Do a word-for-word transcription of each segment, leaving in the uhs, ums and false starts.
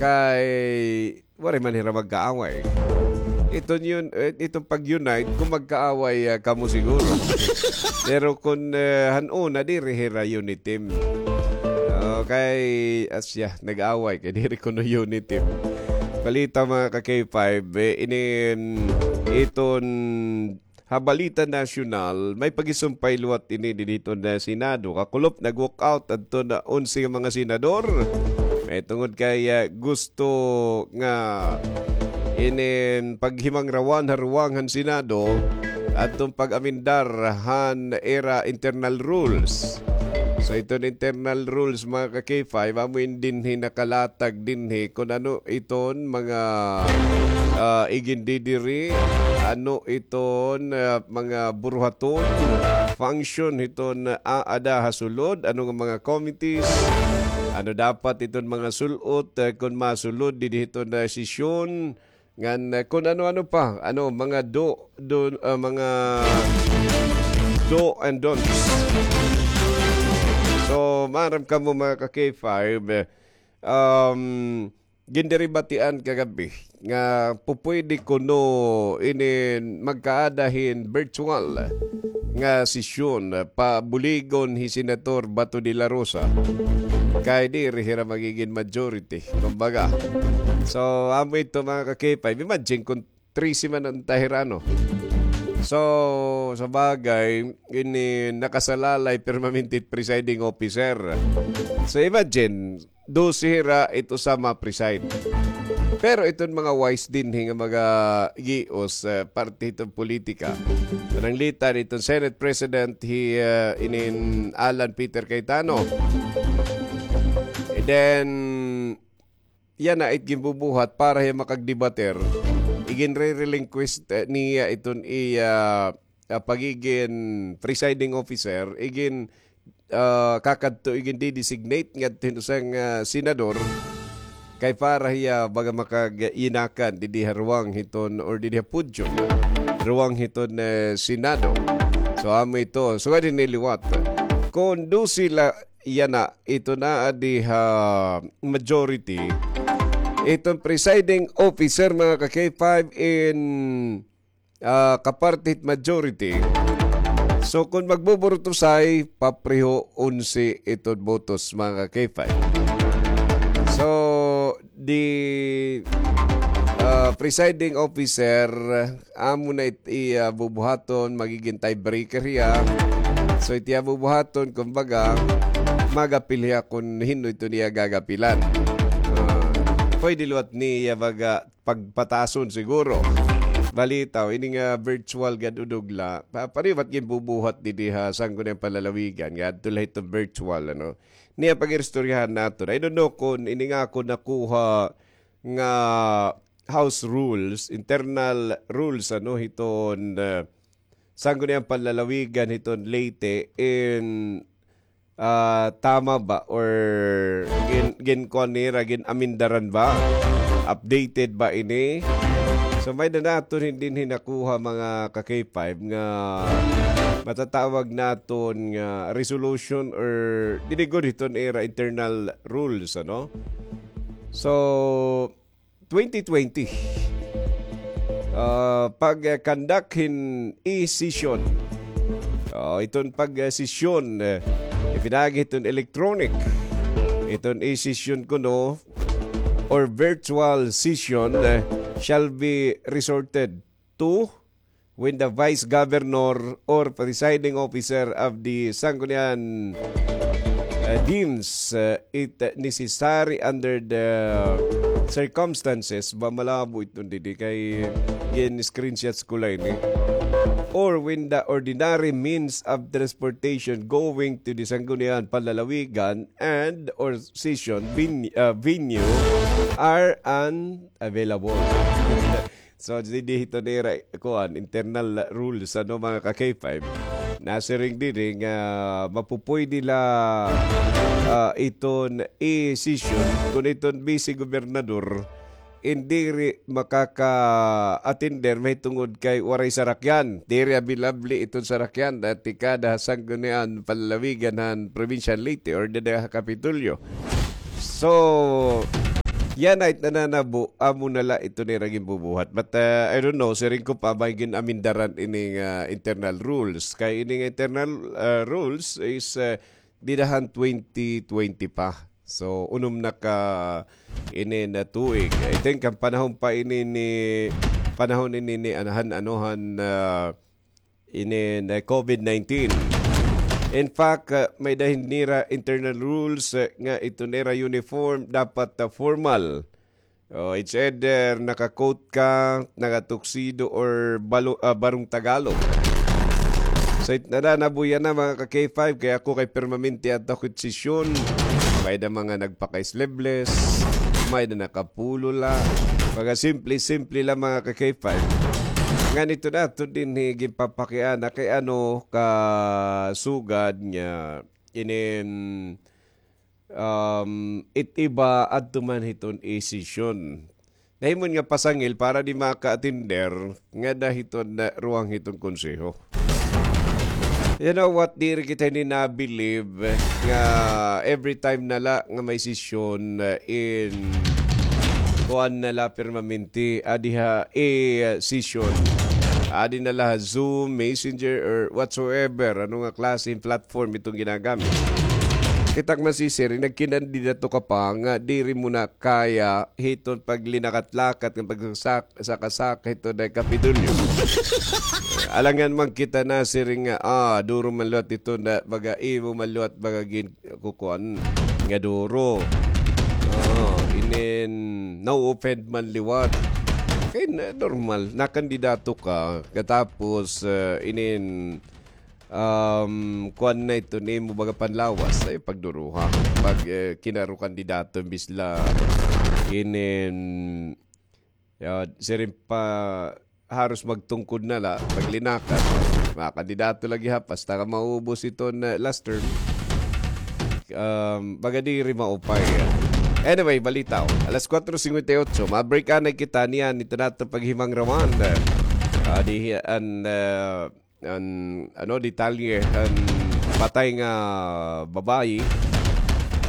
Kay waray man hira magkaaway. Iton yun, eh, iton pag-unite, kung magkaaway, ah, kamo siguro. Pero kung, eh, han-una, diri hira uniteam. Okay, asya, nag-away kay diri kuno uniteam. Balita, mga ka-K five, eh, inin iton ha balita nasyonal, may pagisumpay liwat ini didto na Senado. Kakulop, nag-walk out adto na onse nga mga senador. May tungod kay, ah, gusto nga inin paghimangrawan ha ruwang han Senado adtong pag-amendar han ira internal rules. So, iton internal rules, mga ka-K five, amo in dinhi nakalatag dinhi kun ano iton mga, ah, igindidiri, ano iton, ah, mga buruhaton, function hiton, ah, aada ha sulod, ano nga mga committees, ano dapat iton mga sul-ot, ah, kun masulod didi hiton, ah, sesyon, ngan, ah, kun ano-ano pa, ano, mga do, do, ah, mga do and don'ts. So, maaram kamo, mga ka-K five, eh, um, gindiribatian kagabi nga pupwede kuno ini magkaada hin virtual nga sesyon, ah, pabuligon hi Senator Bato de la Rosa. Kay diri hira magigin majority, kumbaga. So, amo ito, mga ka-K five. Imagine kung trese man an tahirano. So, sa bagay, ini nakasalalay permanente presiding officer. So, imagine, dose hira ito sa ma-preside. Pero iton mga wise dinhi nga mga gios, eh, parte hiton politika. Pananglitan iton Senate President hi, eh, inin Alan Peter Cayetano. And then, yana it ginbubuhat para hiya makagdebater. Iginre-relinquish, eh, niya iton iya, ah, pagigin presiding officer, igin, ah, kakadto igindidesignate ngadto hin usa nga, ah, senador kay para hiya baga makag-inakan didi ha ruwang hiton or didi ha podium, ruwang hiton, eh, Senado. So, amo ito. So, nga din niliwat. Kon dose la yana, ito na adi ha majority. Iton presiding officer, mga ka-K five, in, ah, kapartit majority. So, kung magbuburutusay, papreho onse iton botos, mga ka-K five. So, the, ah, presiding officer, amo na it iya bubuhaton, magigin tiebreaker hiya. So, it iya bubuhaton, kumbaga, magapil hiya kun hin-o ito niya gagapilan. Ah, pwede liwat niya baga pagpatason siguro. Balitaw, ini nga virtual gad udog la, pa-, pariwat ginbubuhat didi ha Sangguniang Panlalawigan, ngadto la hito virtual, ano. Niya pag-iristoryahan naton. I don't know kun ini nga ako nakuha nga house rules, internal rules, ano, hiton, ah, Sangguniang Panlalawigan hiton Leyte in, ah, tama ba or gin-, ginkuan nira, gin-amindaran ba? Updated ba ini? So, may-ada naton hin-, dinhi nakuha, mga ka-K five, nga matatawag naton nga resolution or didi gud hiton ira internal rules, ano? So, twenty twenty. Ah, pag-conduct hin e-session. Ah, iton pag-session, eh, ipinagi iton electronic. Iton e-session kuno or virtual session, eh, shall be resorted to when the vice governor or presiding officer of the Sanggunian, uh, deems, uh, it necessary under the circumstances. Ba, malabo iton didi kay gin-screenshots ko la ini. Or when the ordinary means of transportation going to the Sangguniang Panlalawigan and or session ven-, uh, venue are unavailable. So, didi hito nira, kuan, internal rules, ano, mga ka-K five. Nasiring didi nga mapupuydi la, ah, iton e-session kun iton bise gobernador in diri makaka-attender mahitungod kay waray sarakyan. Diri available iton sarakyan, ah, tikada ha Sangguniang Panlalawigan han Provincial Leyte or dida ha Kapitolyo. So, Yana it nananabo, amo na la ito nira ginbubuhat. But, uh, I don't know, siring ko pa, may gin-amindaran ini nga internal rules. Kay ini nga internal, uh, rules is, uh, dida han twenty twenty pa. So, unom na ka ini na tuig. I think, an panahon pa ini ni, panahon ini ni, ano, han, ano, han, uh, ini na covid nineteen. In fact, uh, may-ada hin nira internal rules, uh, nga ito nira uniform, dapat, uh, formal. Oh, it's either naka-coat ka, naka-tuxedo, or balo-, ah, barong Tagalog. So, it nananabo yana, mga ka-K five, kay ako kay permanente adto ako hit sesyon. May-ada mga nagpaka-sleeveless, may-ada naka-polo la. Mga simple-simple la, mga ka-K five. Ngan ito na, ito dinhi ginpapakiana kay ano kasugad nga inin, um, it iba adto man hiton isesyon. Nahimo nga pasangil para di maka-attender ngada hiton, ah, ruwang hiton konseho. You know what? Diri kita ini na-believe nga every time na la nga may sesyon, ah, in kuan na la permanente, adi ha, eh, session. Adi na la ha Zoom, Messenger, or whatsoever. Ano nga klase hin platform itong ginagamit? Kita man si Sir, nagkinandidato ka pa nga diri mo na kaya hiton paglinakat-lakat nga pagsak-, saka-saka hiton na Kapitolyo. Alangan man kita na, Sir, nga, ah, duro man liwat ito na, baga imo man liwat, baga gin-, kukuan nga duro. Ah, inin, na-offend man liwat. Kay na, normal, nakandidato ka, katapos, ah, inin, um, kuan na ito nimo, baga panlawas, ay pagduruha. Pag, eh, kinaro kandidato, imbis la, inin, ya, siring pa, haros magtungkod na la, paglinakad. Mga kandidato lagi ha, basta ka maubos iton, eh, last term. Um, baga diri maupay. Anyway, balita, oh. Alas kuwatro singkwenta y otso, ma-break anay kita niyan, ito naton paghimangrawon. Ah, di, an, ah, an, ano, detalye, an patay nga babayi,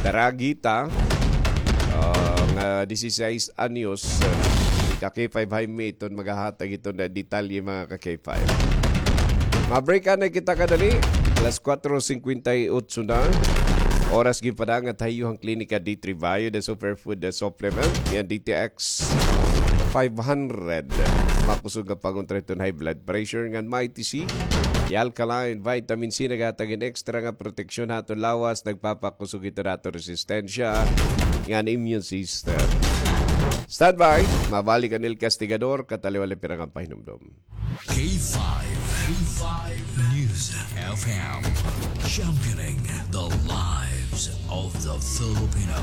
Daragita, ah, nga dieciséis anyos, ah, ka-K five Jaime iton maghahatag iton na detalye, mga ka-K five. Ma-break anay kita kadali. Alas kuwatro singkwenta y otso na. Oras ginpadangat ha iyo han Klinika D three Bio, the superfood, the supplement. Yan, D T X five hundred. Makusog nga pangontra hiton high blood pressure ngan Mighty C. The alkaline vitamin C naghatag hin extra nga proteksyon ha aton lawas, nagpapakusog hiton aton resistensya ngan immune system. Standby, mabalik an El Castigador, kataliwali pirang an pahinumdom. K five, K five News F M, championing the lives of the Filipino.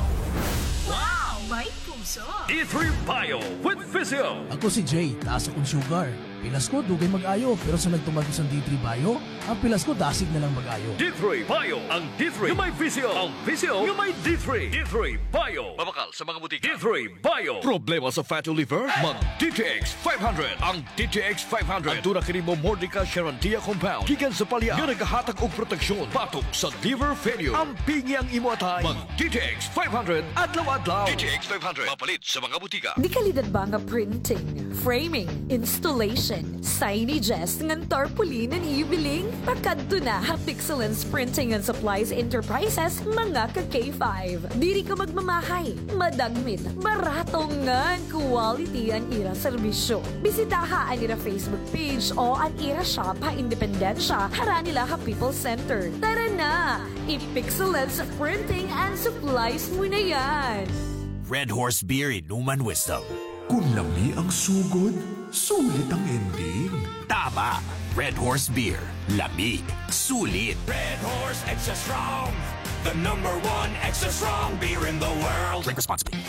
Wow! May puso! D three Bio with Physio. Ako si Jay, taas akon sugar. Pilas ko, dugay mag-ayo, pero sa nagtumar ko sa D three Bio, an pilas ko dasig na lang mag-ayo. D three Bio, ang D three nga may Physio, ang Physio nga may D three. D three Bio. Mabakal sa mga butika. D three Bio. Problema sa fatty liver? Mag D T X five hundred. Ang D T X five hundred. Aduna kini Momordica charantia compound gikan sa palya nga nagahatag og proteksyon batok sa liver failure. Ampingi ang imo atay. Mag D T X five hundred adlaw-adlaw. D T X five hundred. Mapalit sa mga butika. Dekalidad ba nga printing, framing, installation, signages, ngan tarpaulin an iyo biling? Pakadto na ha Pixelance Printing and Supplies Enterprises, mga ka-K five. Diri ka magmamahay, madagmit, barato ngan quality an ira serbisyo. Bisitaha an ira Facebook page o an ira shop ha Independencia, harani la ha People's Center. Tara na! I-Pixelance Printing and Supplies mo na yan! Red Horse Beer, inuman wisdom. Kun lami ang sugod, sulit ang ending. Tama! Red Horse Beer. Lami. Sulit. Red Horse Extra Strong. The number one extra strong beer in the world. Drink responsibly.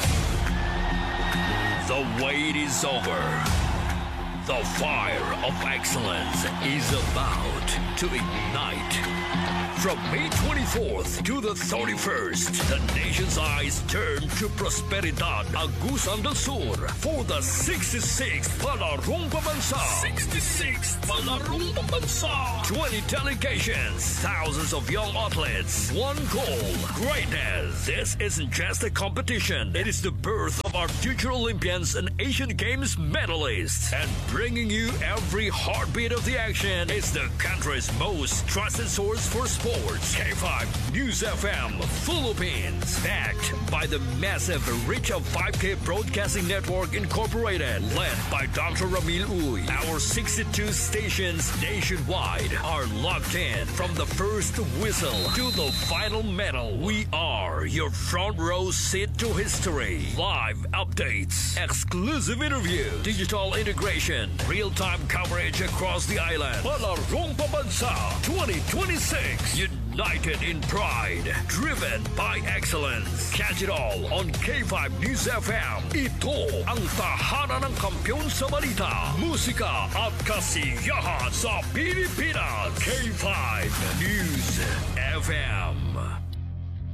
The wait is over. The fire of excellence is about to ignite. From May twenty-fourth to the thirty-first, the nation's eyes turn to Prosperidad, Agusan del Sur, for the sixty-sixth Palarong Pambansa. Sixty-sixth Palarong Pambansa. Twenty delegations, thousands of young athletes, one goal, greatness. This isn't just a competition. It is the birth of Our future Olympians and Asian Games medalists. And bringing you every heartbeat of the action is the country's most trusted source for sports. K five News F M Philippines. Backed by the massive reach of five K Broadcasting Network Incorporated, led by Doctor Ramil Uy. Our sixty-two stations nationwide are locked in. From the first whistle to the final medal, we are your front row seat to history. Live updates, exclusive interview, digital integration, real-time coverage across the island. Palarong Pambansa twenty twenty-six. United in pride, driven by excellence. Catch it all on K five News F M. Ito ang tahanan ng kampiyon sa balita, musika at kasiyahan sa Pilipinas. K five News F M.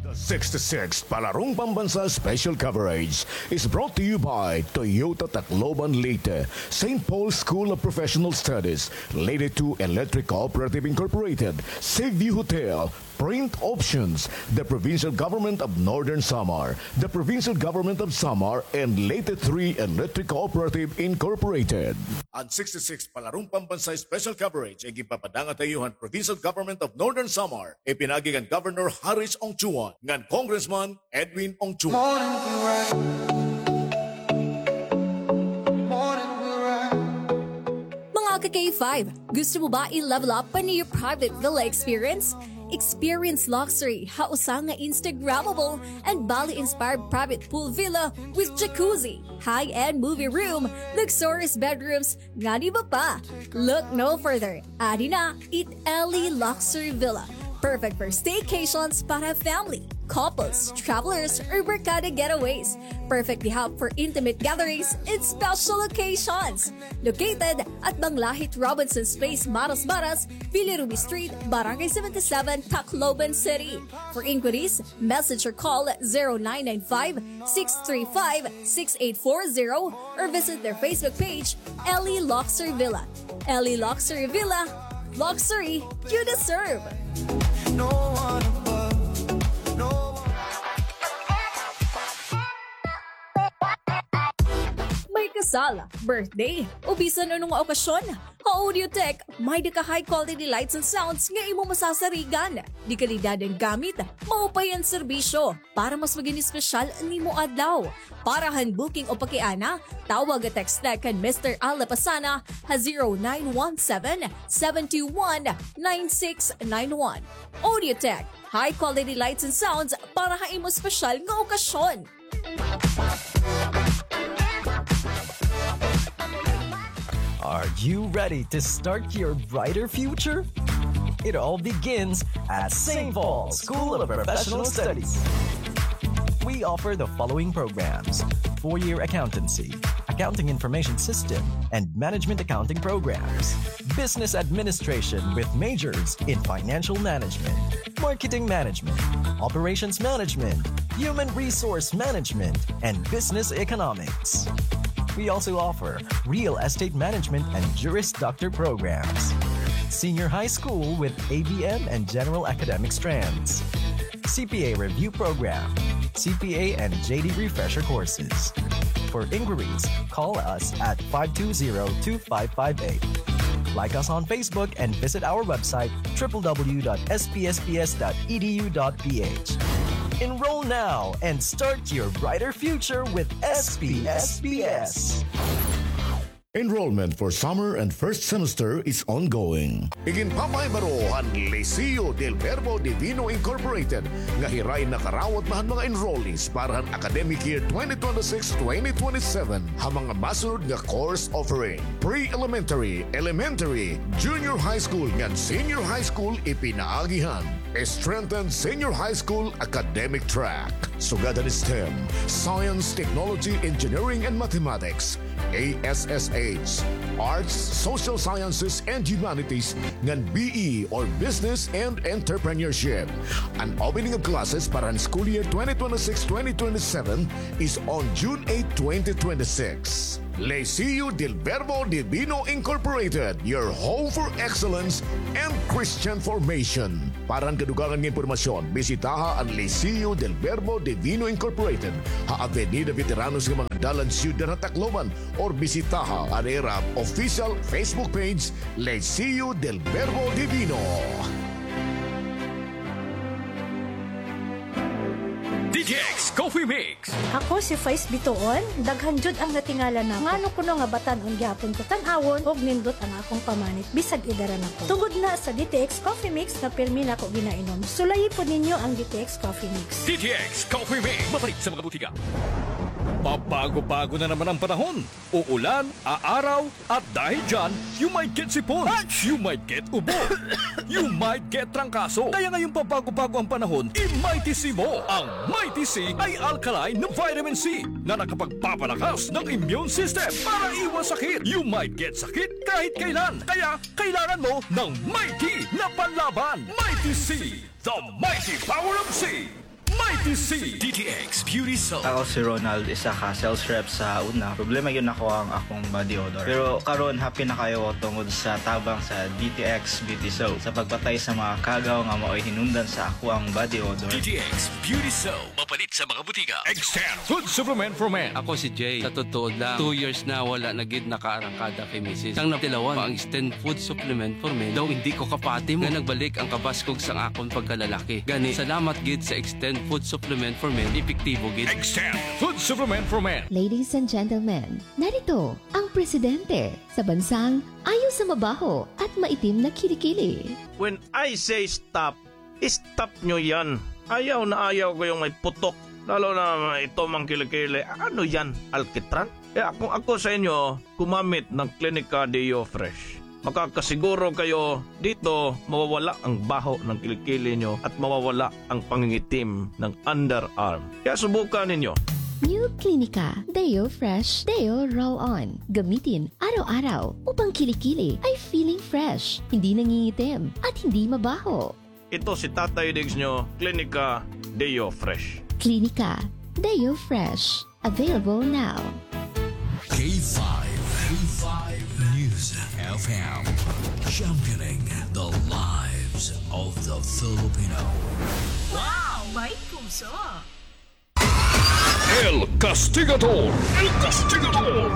The sixty-sixth Palarong Pambansa Special Coverage is brought to you by Toyota Tacloban Leyte, Saint Paul School of Professional Studies, Leyte two Electric Cooperative Incorporated, Seaview Hotel, Print Options, the Provincial Government of Northern Samar, the Provincial Government of Samar, and Leyte three Electric Cooperative Incorporated. An sixty-sixth Palarong Pambansa Special Coverage ay ginpapadangad ha iyo han Provincial Government of Northern Samar, ipinaagi kan Governor Haris Ongchuan ngan Congressman Edwin Ongchuan. Mga ka-K five, gusto mo ba i-level up an iyo private villa experience? Experience luxury ha usa nga Instagrammable and Bali-inspired private pool villa with jacuzzi, high-end movie room, luxurious bedrooms, ngan iba pa. Look no further. Adi na it Ellie Luxury Villa. Perfect for staycations para family, couples, travelers, or barkada getaways. Perfect gihap for intimate gatherings and special occasions. Located at Banglahit Robinson's Place, Maras Maras, Villa Ruby Street, Barangay seventy-seven, Tacloban City. For inquiries, message or call zero nine nine five, six three five, six eight four zero or visit their Facebook page, Ellie Luxury Villa. Ellie Luxury Villa, luxury you deserve. No one above, no one. May kasal, birthday, o bisan ano nga okasyon? Ha Audiotech, may-ada ka high quality lights and sounds nga imo masasarigan. Dekalidad an gamit, maupay an serbisyo, para mas magin espesyal an imo adlaw. Para han booking o pakiana, tawag o text na kan Mister Al Lapasana ha zero nine one seven, seven two one, nine six nine one. Audiotech, high quality lights and sounds para ha imo espesyal nga okasyon. Are you ready to start your brighter future? It all begins at Saint Paul School of Professional Studies. We offer the following programs: four-year accountancy, accounting information system, and management accounting programs, business administration with majors in financial management, marketing management, operations management, human resource management, and business economics. We also offer real estate management and Juris Doctor programs, senior high school with A B M and general academic strands, C P A review program, C P A and J D refresher courses. For inquiries, call us at five two zero, two five five eight. Like us on Facebook and visit our website, triple W dot S P S P S dot E D U dot P H. Enroll now and start your brighter future with S P S P S. Enrollment for summer and first semester is ongoing. Iginpapahibaro han Liceo del Verbo Divino Incorporated nga hiray nakarawat na han mga enrollees para han academic year twenty twenty-six twenty twenty-seven ha mga masunod nga course offering: pre-elementary, elementary, junior high school ngan senior high school ipinaagi han strengthened senior high school academic track. Sugad han STEM, science, technology, engineering, and mathematics, A S S H, Arts, Social Sciences, and Humanities, ngan B E or Business and Entrepreneurship. An opening of classes para han school year twenty twenty-six twenty twenty-seven is on June eight, twenty twenty-six. Liceo del Verbo Divino Incorporated, your home for excellence and Christian formation. Para han kadugangan nga impormasyon, bisitaha an Liceo del Verbo Divino Incorporated ha Avenida Veteranos nga mga dalan, Siyudad ha Tacloban, or bisitaha an ira official Facebook page, Liceo del Verbo Divino. D T X Coffee Mix. Ako si Faiz Bitoon, daghan jud ang natingala nako. Ngano kuno nga batan-on gihapon ko tan-awon ug nindot ang akong pamanit bisag edara na ko. Tungod na sa D T X Coffee Mix nga pirmi nako ginainom. Sulayi pod ninyo ang D T X Coffee Mix. D T X Coffee Mix. Mapalit sa mga butika. Pabago-bago na naman ang panahon. Uulan, aaraw, at dahil dyan, you might get sipon, you might get ubo, you might get trangkaso. Kaya ngayong pabago-bago ang panahon, i-Mighty C mo. Ang Mighty C ay alkaline na vitamin C na nakapagpapalakas ng immune system para iwas sakit. You might get sakit kahit kailan. Kaya kailangan mo ng Mighty na panlaban. Mighty C, the mighty power of C. Mighty C. D T X Beauty Soap. Ako si Ronald, isa ka sales rep sa una. Problema gyud nako ang akong body odor. Pero karon, happy na kaayo ko tungod sa tabang sa D T X Beauty Soap sa pagpatay sa mga kagaw nga maoy hinungdan sa akoang body odor. D T X Beauty Soap. Mapalit sa mga butika. Extend Food Supplement for Men. Ako si Jay. Sa totoo lang, two years na wala na gid nakaarangkada kay misis. Sang natilawan pa ang Extend Food Supplement for Men, daw hindi ko kapati mo nga nagbalik ang kabaskog sang akon pagkalalaki. Gani, salamat gid sa Extend Food Supplement for Men, epektibo gid. Extend Food Supplement for Men. Ladies and gentlemen, narito ang presidente sa bansang ayaw sa mabaho at maitim na kilikili. When I say stop, stop nyo yan. Ayaw na ayaw ko yung may putok. Lalo na ito mang kilikili. Ano yan? Alkitran? Eh, kung ako sa inyo, gumamit ng Clinica Deo Fresh. Makakasiguro kayo dito, mawawala ang baho ng kilikili nyo at mawawala ang pangingitim ng underarm. Kaya subukan ninyo. New Clinica Deo Fresh Deo Roll On. Gamitin araw-araw upang kilikili ay feeling fresh, hindi nangingitim, at hindi mabaho. Ito si Tatay Diggs nyo, Clinica Deo Fresh. Clinica Deo Fresh. Available now. K five, K five News F M, championing the lives of the Filipino. Wow! May puso! El Castigador! El Castigador!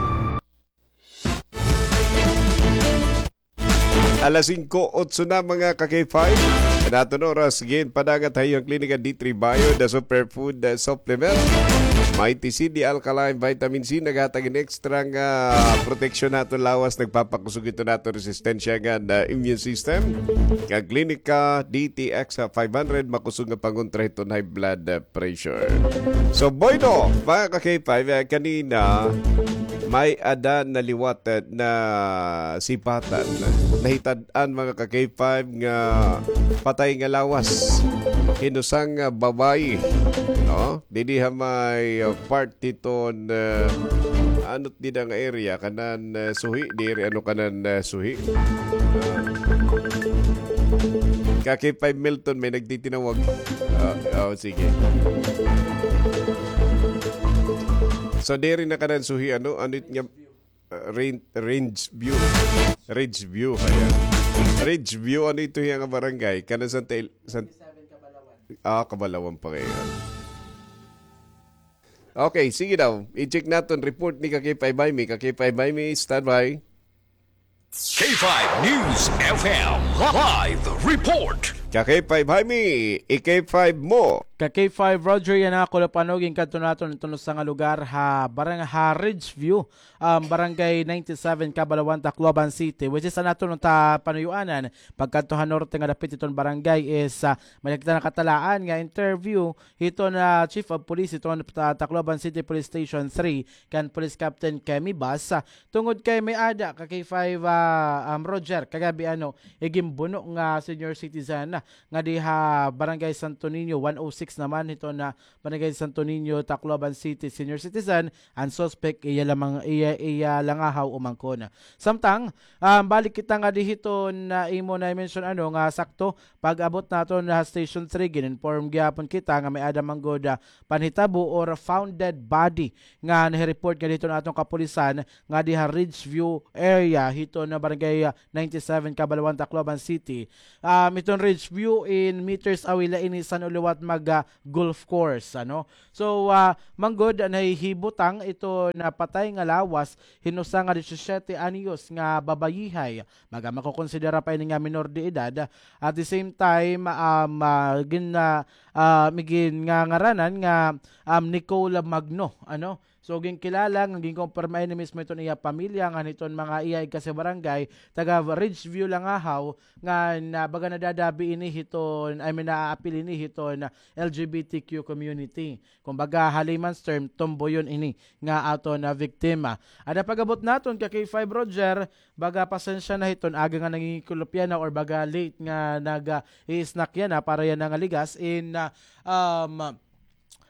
Alas singko otso na, mga ka-K five. An aton oras, ginpadagat ha iyo an Klinika D three Bio, the superfood, uh, supplement. Mighty C, the alkaline vitamin C, naghatag hin extra nga proteksyon ha aton lawas, nagpapakusog hiton aton resistensya ngan, uh, immune system. Kag Klinika D T X five hundred, makusog nga pangontra hiton high blood, uh, pressure. So, bueno, mga ka-K five, uh, kanina, may-ada naliwat, uh, na sipatan. Nahitan an mga ka-K five nga patay nga lawas. Hin usa nga babaye, no? Didi ha may, uh, part hiton, uh, ano dida nga area, kanan, uh, suhi, diri ano kanan, uh, suhi. Uh, ka-K five Milton, may nagtitinawag. Uh, oh, sige. So, diri na kanan suhi, ano? Ano it nga Uh, Ridge View. Ridge View, ayan. Ridge View, ano ito hiya nga barangay? Kanan Santa El-, San-, ah, Cabalawan pa ngayon. Okay, sige daw. I-check naton report ni ka-K five Jaime. Ka-K five Jaime, standby. K five News F M live report. Ka-K five Jaime, i-K five mo. Ka-K five Roger, yana ako la panugi ngadto naton, naton usa nga lugar ha barang-, ha Ridge View, um, Barangay ninety-seven, Cabalawan, Tacloban City, which is an aton ta panuyuanan pagkadto ha norte nga dapit hiton barangay is, ah, may kita nakatalaan nga interview hiton, ah, Chief of Police hiton, ah, Tacloban City Police Station three, kan Police Captain Kemi Bas, ah, tungod kay may-ada ka-K five, ah, um, Roger, kagab-i, ano, iginbuno nga senior citizen, nga diha Barangay Santo Niño, one oh six naman hiton Barangay Santo Niño, Tacloban City, senior citizen, an suspect iya lamang, iya, iya langahaw umangkon. Samtang, ah, balik kita nga dihiton imo na-mention ano nga sakto, pag-abot naton ha Station three, gin-inform gihapon kita nga may-ada man gud, ah, panhitabo or found dead body nga nahi-report nga dihiton aton kapulisan nga diha Ridgeview area hiton Barangay, ah, ninety-seven, Cabalawan, Tacloban City. Um, hiton Ridgeview in meters away la ini san-o liwat mag, ah, golf course, ano? So, ah, man gud nahihibutang iton patay nga lawas hin usa nga disisyete anyos nga babayihay. Baga makokonsidera pa ini nga minor de edad. At the same time, um, ah, gin-, ah, ah, mi-, gingangaranan nga, um, Nicole Magno, ano? So, ginkilala nga ginkumpirma ini mismo hiton iya pamilya ngan hiton mga iya igkasi-barangay, taga Ridgeview, Langahaw, nga na, baga nadadabi ini hiton, I mean, naaapil ini hiton L G B T Q community. Kumbaga, ha layman's term, tomboyon ini nga aton biktima. Ada pag-abot naton ka K five Roger, baga pasensya na hiton aga nga nangingikulop yana or baga late nga nag, ah, i-snack yana para yana nga ligas in, ah, um,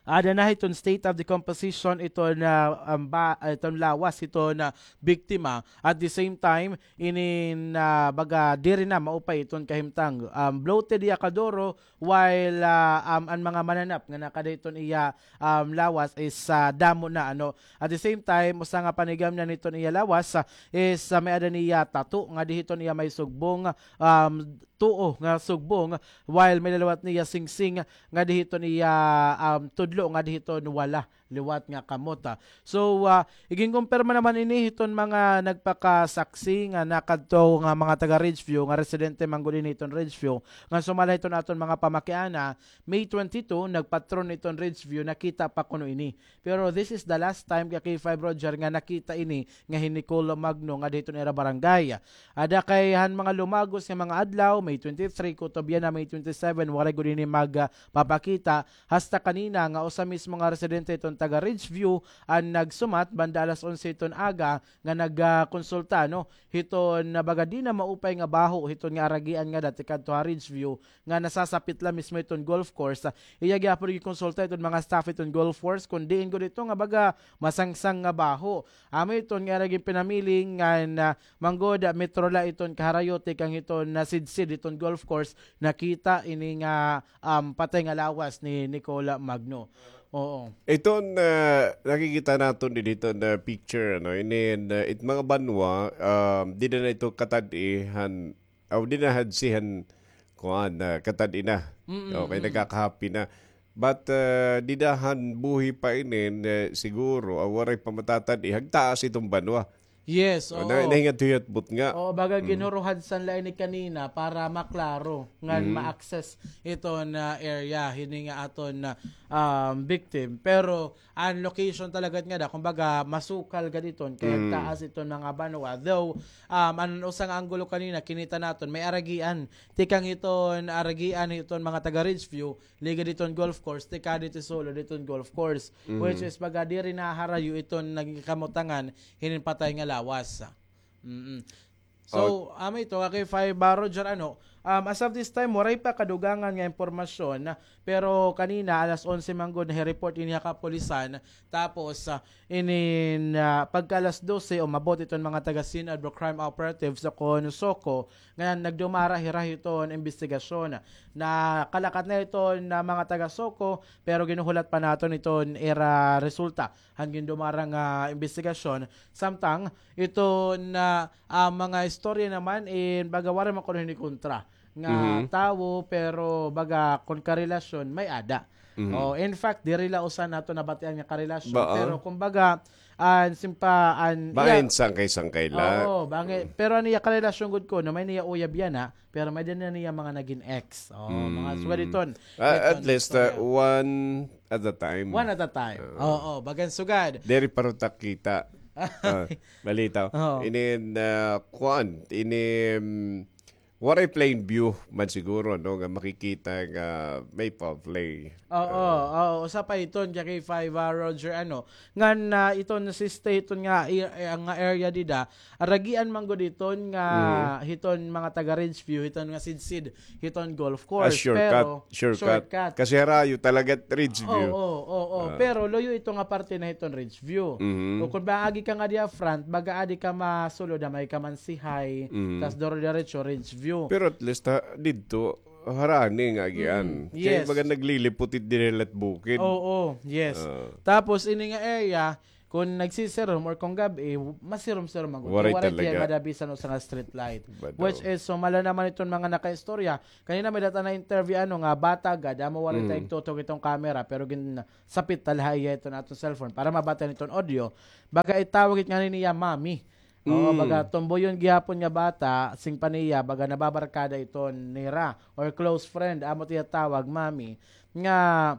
ada na hiton state of decomposition iton, um, ba, iton lawas hiton biktima. At the same time, inin, ah, baga diri na maupay iton kahimtang. Um, bloated hiya kaduro, while, ah, um, an mga mananap nga nakada hiton iya, um, lawas is, ah, damo na, ano. At the same time, usa nga panigamnan hiton iya lawas, ah, is, ah, may-ada niya tattoo nga dihiton iya may sugbong, um, tuo nga sugbong, while may-ada liwat niya singsing nga dihiton iya, um, tudlo nga dihiton wala liwat nga kamot, ah. So, ah, iginkumpirma naman ini hiton mga nagpakasaksi nga nakadto nga mga taga Ridgeview, nga residente man gud ini hiton Ridgeview, nga sumala hiton aton mga pamakiana, May twenty-two, nagpatron hiton Ridgeview, nakita pa kuno ini. Pero this is the last time ka K five Roger nga nakita ini nga hi Nicole Magno nga dihiton ira barangay. Ada kay han mga lumagos nga mga adlaw, May twenty-three, kutob yana May twenty-seven, waray gud ini mag, ah, papakita. Hasta kanina nga usa mismo nga residente hiton taga Ridgeview an nagsumat banda alas onse hiton aga nga nag, ah, konsulta, no, hiton na baga di na maupay nga baho hiton nga aragian nga dati kadto ha Ridgeview nga nasasapit la mismo hiton golf course. Ah, iya gihapon gikonsulta hiton mga staff hiton golf course kon diin gud ito nga baga masangsang nga baho. Amo iton nga ira ginpinamili ngan, ah, man gud, ah, metro la iton kaharayo tikang hiton nasidsid hiton golf course, nakita ini nga, um, patay nga lawas ni Nicole Magno. Oo. Iton, ah, nakikita naton didi iton, ah, picture, ano, inin, ah, it mga banwa, um, dida na ito katad-i han, aw, dida na hadsi han, kuan, ah, katad-i na. Mm, okay, mm, nagkakahapi na. But, ah, dida han buhi pa inin, ah, siguro, ah, waray pa matatad-i, hagtaas iton banwa. Yes, oo. Na, nahingat-huyat butnga. Oo, baga ginhuruhadsan la ini kanina para maklaro ngan ma-access iton area hini nga aton, um, victim. Pero an location talaga ngada, kumbaga, masukal gad iton kay taas iton mga banwa. Though, um, an usa nga anggulo kanina, kinita naton, may aragian. Tikang hiton aragian hiton mga taga Ridgeview, ligad hiton golf course, tikang didto sulod hiton golf course, which is baga diri naharayo iton nagkamutangan hinin patay nga lawas. Mm-mm. So, amo ito, ka K five, ah, Roger, ano, um, as of this time, waray pa kadugangan nga impormasyon, pero kanina, alas onse man gud, nahi-report ini ha kapulisan, tapos, ah, inin, ah, pagka alas dose, umabot iton mga taga-SINAD o crime operatives o kon SOCO, nga nagdumara hira hiton imbestigasyon. Nakalakat na iton mga taga-SOCO, pero ginhuhulat pa naton iton ira resulta han gindumara nga imbestigasyon. Samtang iton, ah, mga istorya naman in baga waray man kuno hini kontra nga tawo, pero baga kon karelasyon, may-ada. Oh, in fact, diri la usa naton nabatian nga karelasyon, pero kumbaga, an simpa-, an, bangin sangkay-sangkay la. Oo, bangin. Pero an iya karelasyon gud kuno, may-ada niya uyab yana, pero may-ada na niya mga nagin ex. Oh, mga sugad iton. Ah, at least, ah, one at a time. One at a time. Oo, bagan sugad. Diri pa ruta kita. Ah, balita. Oo. Inin, ah, kuan, inin, Waray plain view man siguro, no, nga makikita nga may foul play. Oo, oo, usa pa iton, K K five, ah, Roger, ano, ngan, ah, iton siste iton nga, i-, eh, nga area dida, aragian man gud iton nga, hiton mga taga Ridgeview, hiton nga sidsid, hiton golf course, shortcut, pero shortcut. Kasi harayo talaga Ridgeview. Oo, oo, oo. Pero luyo ito nga parte na hiton Ridgeview. O kun ba agi ka nga diha front, baga adi ka masulod, may ka man si High, tas duro diretso Ridgeview. Pero at least, ha, didto, harani nga agian. Kay baga naglilipot it diri la't bukid. Oo, yes. Tapos, ini nga area, kung nagsisirom or kung gab-i, masirom-sirom man gud. Waray talaga. Waray tiya nga da bisan usa nga street light. Which is, sumala naman iton mga nakaistorya. Kanina may data na interview, ano nga, bata gad, amo waray tay tutok itong camera, pero gin-, sapit ta la ha iya iton aton cellphone para mabatian iton audio. Baga itawag it ngani niya mami. Oo, baga tumboyon gihapon nga bata, sing pa niya, baga nababarkada iton nira, or close friend, amo it iya tawag, mami, nga,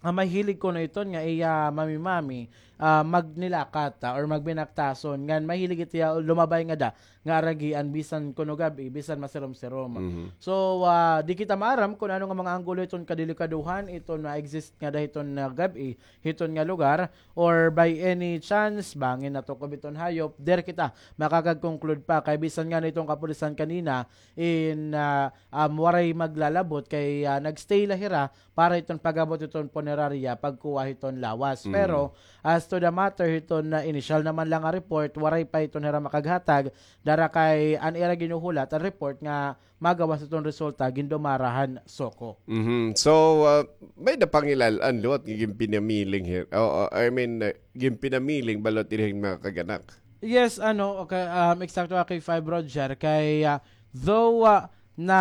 ah, mahilig kuno iton nga iya mami-mami, ah, magnilakat, ah, or magbinaktason, ngan mahilig it iya lumabay ngada, nga aragian bisan kuno gab-i, bisan masirom-sirom. So, ah, di kita maaram kun ano nga mga anggulo iton kadelikadohan, iton na-exist ngada hiton, ah, gab-i, hiton nga lugar, or by any chance, bangin natukob iton hayop, diri kita makakag-conclude pa. Kay bisan ngani iton kapulisan kanina, in, ah, um, waray maglalabot kay, ah, nag-stay la hira para iton pag-abot iton punerarya, pagkuha hiton lawas. Pero, as to the matter, hiton na initial naman la nga report, waray pa iton hira makaghatag, dara kay an ira ginhuhulat, an report nga magawas iton resulta, gindumara han SOCO. So, ah, may-ada pangilal-an liwat nga ginpinamiling hir-, o, o, I mean, ah, ginpinamiling ba liwat ira hin mga kag-anak? Yes, ano, okay, um, eksakto, K K five, Roger, kay, ah, though, ah, na,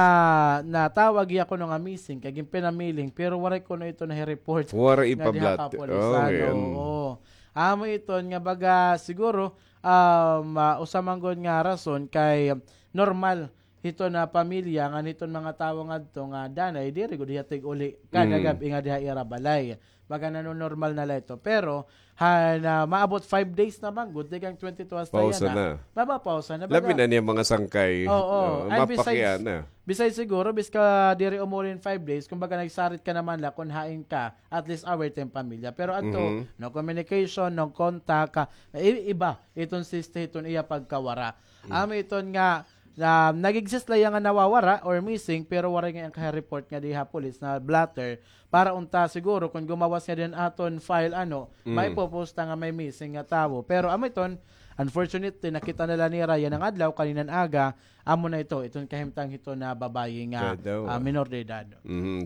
natawag hiya kuno nga missing, kay ginpinamiling, pero waray kuno ito nahi-report. Waray ipablat. Kapulisan, oo. Amo iton nga baga, siguro, um, ah, usa man gud nga rason kay normal hiton nga pamilya ngan hiton mga tawo ngadto nga danay diri gud hiya tig-uli kada gab-i nga diha ira balay. Baga nanonormal na la ito. Pero, han, ah, maabot five days na man gud, tikang twenty-two hasta yana. Pausa na. Mapapausa na. Labi na niya mga sangkay. Oo. And besides, besides siguro, bis ka diri umuli hin five days, kumbaga nagsarit ka naman la kun hain ka, at least aware it im pamilya. Pero adto, no communication, no contact, ah, i-, iba iton siste hiton iya pagkawara. Amo iton nga, na nag-exist la iya nga nawawara or missing, pero waray nga iya kahi-report nga diha police na blotter. Para unta siguro kun gumawas nga din aton file, ano, maipopost ta nga may missing nga tawo. Pero amo iton, unfortunately, nakita na la nira yana nga adlaw, kaninan aga, amo na ito, iton kahimtang hiton nga babayi nga, ah, minor de edad.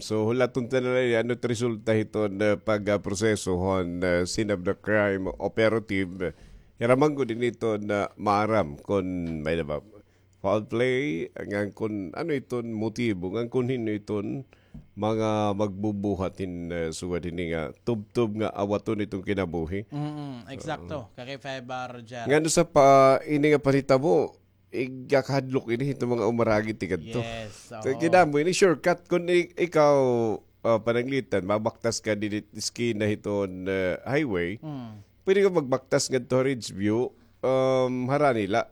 So, hulaton ta na la, ano it resulta hiton, ah, pag, ah, proseso hon, ah, scene of the crime operative. Hira man gud ini iton, ah, maaram kun may-ada ba foul play, ngan kun ano iton motibo, ngan kun hin-o iton mga magbubuhat hin, eh, sugad hini nga tubtob nga awaton iton kinabuhi. Mm, eksakto. Kakay Feba, Roger. Ngan usa pa, ini nga panhitabo, igakahadlok ini hiton mga umaragi tikadto. Yes, oo. Kay kinamo ini shortcut kun i-, ikaw, ah, pananglitan, mabaktas ka didi eskina hiton, eh, highway. Pwede ka magbaktas ngadto ha Ridgeview, um, harani la.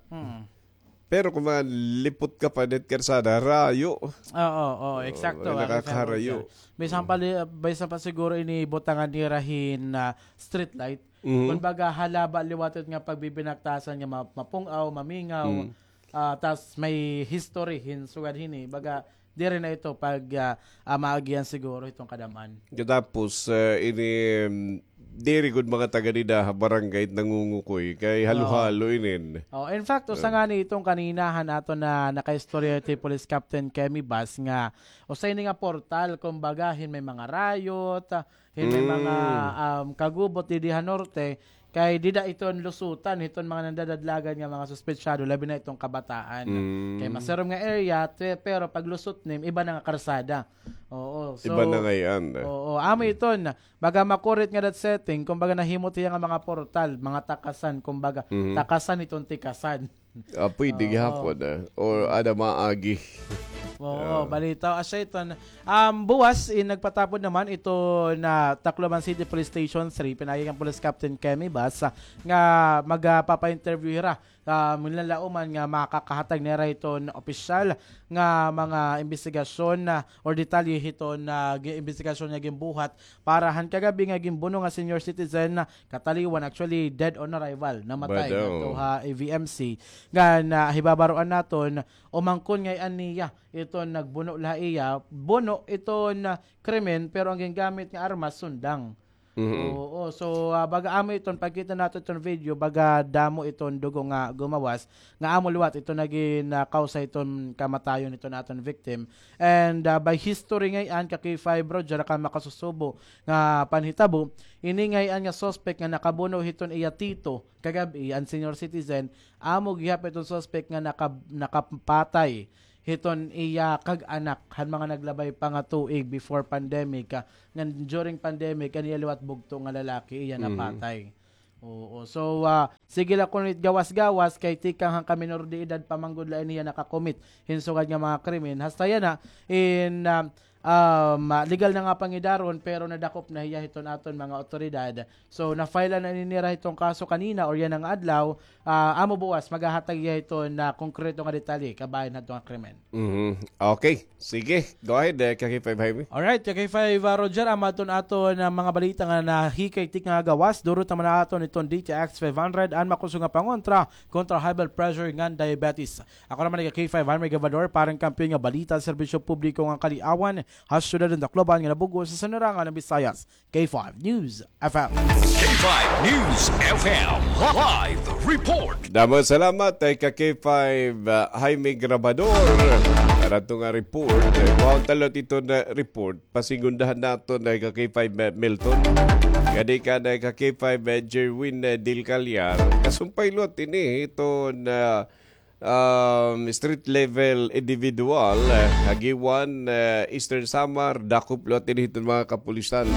Pero kun manlipot ka pa didi karsada, harayo. Oo, oo, eksakto, nakakaharayo. Bisan pa li-, bisan pa siguro ini butangan nira hin, ah, street light. Kumbaga, halaba liwat it nga pagbibinaktasan nga ma-, mapung-aw, mamingaw, ah, tas may history hin sugad hini. Baga, diri na ito pag, ah, ah, maagian siguro itong kadam-an. Katapos, ah, ini, mm, diri gud mga taga dida ha barangay nangungukoy kay halo-halo inin. Oh, in fact, usa ngani itong kanina han aton nga nakaistorya hi Police Captain Kemi Bas nga usa ini nga portal, kumbaga, hin may mga riot, ah, hin may mga, um, kagubot didi ha norte, kay dida iton lusutan hiton mga nandadadlagan nga mga suspetsado, labi na iton kabataan. Kay masirom nga area, te-, pero paglusot nim, iba na nga karsada. Oo, so, iba na ngay-an. Oo, amo iton, baga makurit nga that setting, kumbaga nahimo tiya nga mga portal, mga takasan, kumbaga, takasan iton tikasan. Ah, pwede gihapon, ah. Or ada maagi. Oo, balita. Asya iton, um, buwas, in, nagpatapod naman ito na Tacloban City Police Station three, pinaagi kan Police Captain Kemi Bas, ah, nga magpapa-interview hira, ah, manlalaoman nga makakahatag nira hiton opisyal nga mga imbestigasyon, ah, or detalye hiton, ah, gi-, imbestigasyon nga ginbuhat para han kagab-i nga ginbuno nga senior citizen, ah, kataliwan, actually, dead on arrival, namatay ngadto ha A V M C. Ngan, ah, hibabaroan naton, umangkon ngay-an niya iton nagbuno la ha iya, buno iton, ah, krimen, pero an gingamit nga armas, sundang. Oo, so, ah, baga amo iton, pagkita naton iton video, baga damo iton dugo nga gumawas, nga amo liwat iton nagin, ah, kawsa iton kamatayon iton aton victim. And, ah, by history ngay-an, ka K five Roger, kan makasusubo nga panhitabo, ini ngay-an nga suspect nga nakabuno hiton iya tito kagab-i, an senior citizen, amo gihap iton suspect nga naka-, nakapatay hiton iya kag-anak han mga naglabay pa nga tuig before pandemic, ah, ngan during pandemic, an iya liwat bugto nga lalaki, iya napatay. Oo. So, ah, sige la kuno it gawas-gawas, kay tikang han ka minor de edad pa man gud la ini hiya naka-commit hin sugad nga mga krimen. Hasta yana, in, ah, um, ah, legal na nga pangidaron, pero nadakop na hiya hiton aton mga awtoridad. So, na-file na ini nira hiton kaso kanina or yana nga adlaw, ah, amo buwas, maghahatag hiya hiton konkreto nga detalye kabahin hadto nga krimen. Mhm. Okay. Sige. Go ahead, eh, ka K five Jaime. Alright, ka K five, ah, Roger, amo adton aton, ah, mga balita nga nahikay tikang ha gawas. Duro ta man aton iton D T X five hundred, an makusog nga pangontra kontra high blood pressure ngan diabetes. Ako naman hi ka K five Jaime Gabador, para han kampiyon nga balita, serbisyo publiko ngan kaliawan ha syudad han Tacloban ngan ha bug-os nga Sinirangan han Visayas. K five News F M. K five News F M live report. Damo salamat, eh, ka K five, ah, Jaime Grabador. Para hadto nga report, eh, mao ta liwat iton report, pasegundahan naton, eh, ka K five, eh, Milton. Gani ka na ka K five, eh, Jerwin, eh, Del Callar. Kasumpay liwat ini iton, ah, um, street level individual, eh, ha Guiuan, eh, Eastern Samar, dakop liwat ini hiton mga kapulisan.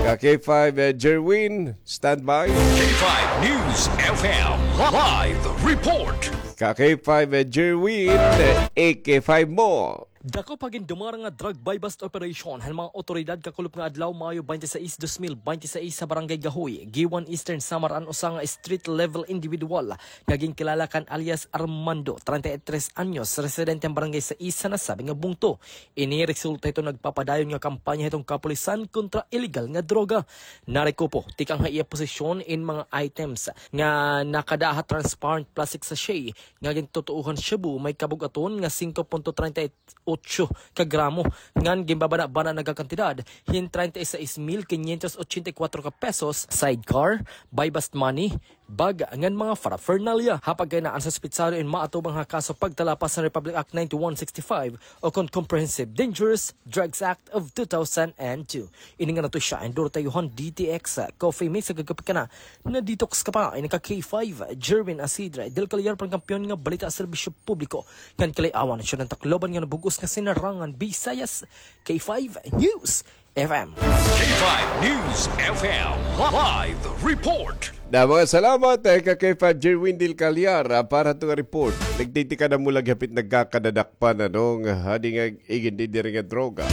Ka K five, eh, Jerwin, standby. K five News F M live report. Ka K five, eh, Jerwin, eh, A K five mo. Dako pa gindumara nga drug buy-bust operation han mga awtoridad kakulop nga adlaw, Mayo twenty-six, dos mil bente seis, sa Barangay Gahoy, Guiuan, Eastern Samar, an usa nga street level individual nga ginkilala kan alias Armando, treinta y tres anyos, residente han Barangay Sais sa nasabi nga bungto. Ini resulta hiton nagpapadayon nga kampanya hiton kapulisan kontra illegal nga droga. Narekupo tikang ha iya posisyon in mga items nga nakada ha transparent plastic sachet nga gintutuohan shabu, may kabug-aton nga singko punto treinta y ocho ka gramo, ngan ginbabana-bana nga kantidad hin treinta y seis mil quinientos ochenta y cuatro ka pesos, sidecar, buy-bust money, bag, ngan mga paraphernalia. Ha pagkahinaan, suspetsado in maatubang ha kaso pagtalapas han Republic Act ninety-one sixty-five, o kon Comprehensive Dangerous Drugs Act of two thousand and two. Ini nga notisya, enduro tayo han D T X Coffee Mix, sa gagapikana. Na-detox ka pa, ini ka K five, Jerwin Asidre, Del Callar, para han kampiyon nga balita, serbisyo publiko ngan kaliawan, syudad han Tacloban ngan ha bug-os nga Sinirangan, Visayas, K five News F M. K five News F M live report. Damo nga salamat, eh, ka K five Jerwin Del Callar, ah, para hadto nga report. Nagtitikadamo la gihap it nagkakadadakpan, ano, nga hadi nga igin diri nga droga.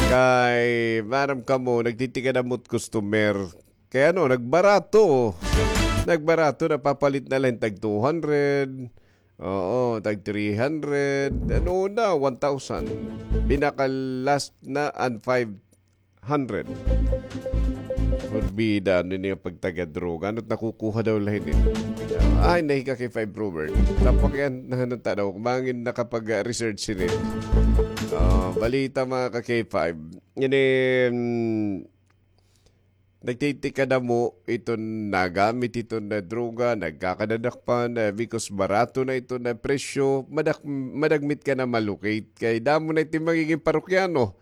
Kay, maaram kamo, nagtitikadamo it customer. Kay ano, nagbarato. Nagbarato, napapalit na la hin tag two hundred. Oo, tag three hundred. Ano na, one thousand. Pinaka-last na an five hundred. Forbida, ano niya pagtagadroga? Ano't nakukuha daw la hini? Ay, nahi ka K five Robert. Tapos yan, nahanap ta daw. Mangin nakapag-research hini. Ah, balita, mga ka K five. Ini, mm, nagtitikadamo iton nagamit iton na droga, nagkakadadakpan, eh, because barato na iton na presyo, madak-, madagmit ka na ma-locate. Kay damo na iton magiging parokyano.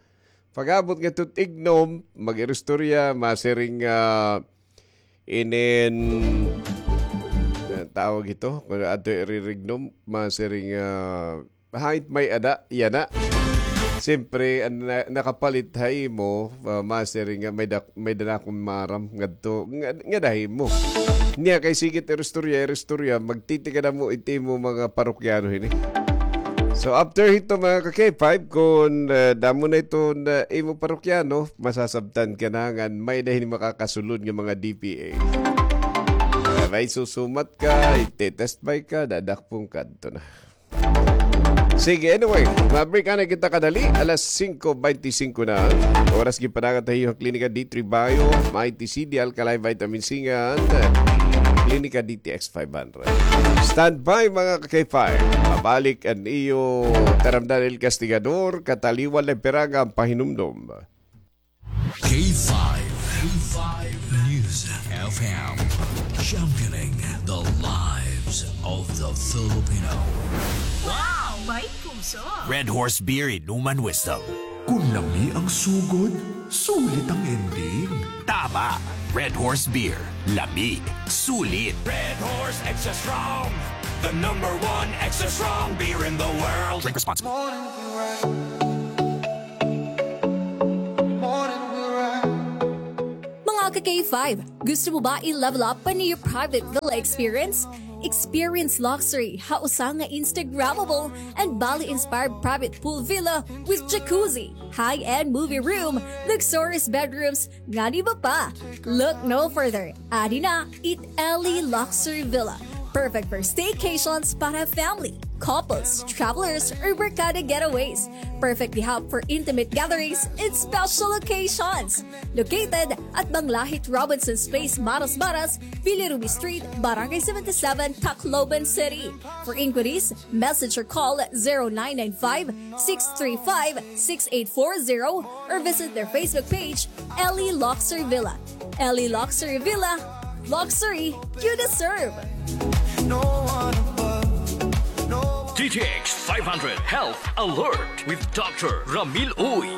Pag-abot ngadto ignom, mag-iristorya, masiring, ah, inin, ah, tawag ito, kung ato irirignom, masiring, ah, hait may ada, yana. Siyempre, an na-, nakapalit ha imo, ah, masiring nga may dak-, may danakon maaram ngadto, nga, ngada ha imo. Niya kay sige it iristorya, iristorya, magtitikadamo it imo mga parokyano hini. So, after hito, mga ka-K five, kun, ah, damo na iton, ah, imo parokyano, masasabtan ka na ngan may-ada hini makakasulod nga mga D P A. Ah, may susumat ka, ite-test buy ka, dadakpon ka, adto na. Sige, anyway, ma-break na kita kadali. Alas singko bente singko na. Oras gipanangat ha iyo han Klinika D three Bio, Mighty C, D Alkaline Vitamin C ngan Klinika D T X five hundred. Stand by, mga ka-K five. Mabalik an iyo taramdan, El Castigador, kataliwan la piranga an pahinumdom. K five. K five News F M. Championing the lives of the Filipino. Wow! May puso! Red Horse Beer, inuman wisdom. Kun lami ang sugod, sulit ang ending. Tama! Red Horse Beer. Lami. Sulit. Red Horse Extra Strong. The number one extra strong beer in the world. Drink responsibly. Mga ka-K five, gusto mo ba i-level up an iyo private villa experience? Experience luxury ha usa nga Instagrammable and Bali-inspired private pool villa with jacuzzi, high-end movie room, luxurious bedrooms, ngan iba pa. Look no further. Adi na it Ellie Luxury Villa. Perfect for staycations para family, couples, travelers, or barkada getaways. Perfect di hap for intimate gatherings and special occasions. Located at Banglahit Robinson's Place, Maras Maras, Villa Ruby Street, Barangay seventy-seven, Tacloban City. For inquiries, message or call zero nine nine five, six three five, six eight four zero or visit their Facebook page, Ellie Luxury Villa. Ellie Luxury Villa, luxury you deserve. D T X five hundred Health Alert with Doctor Ramil Uy.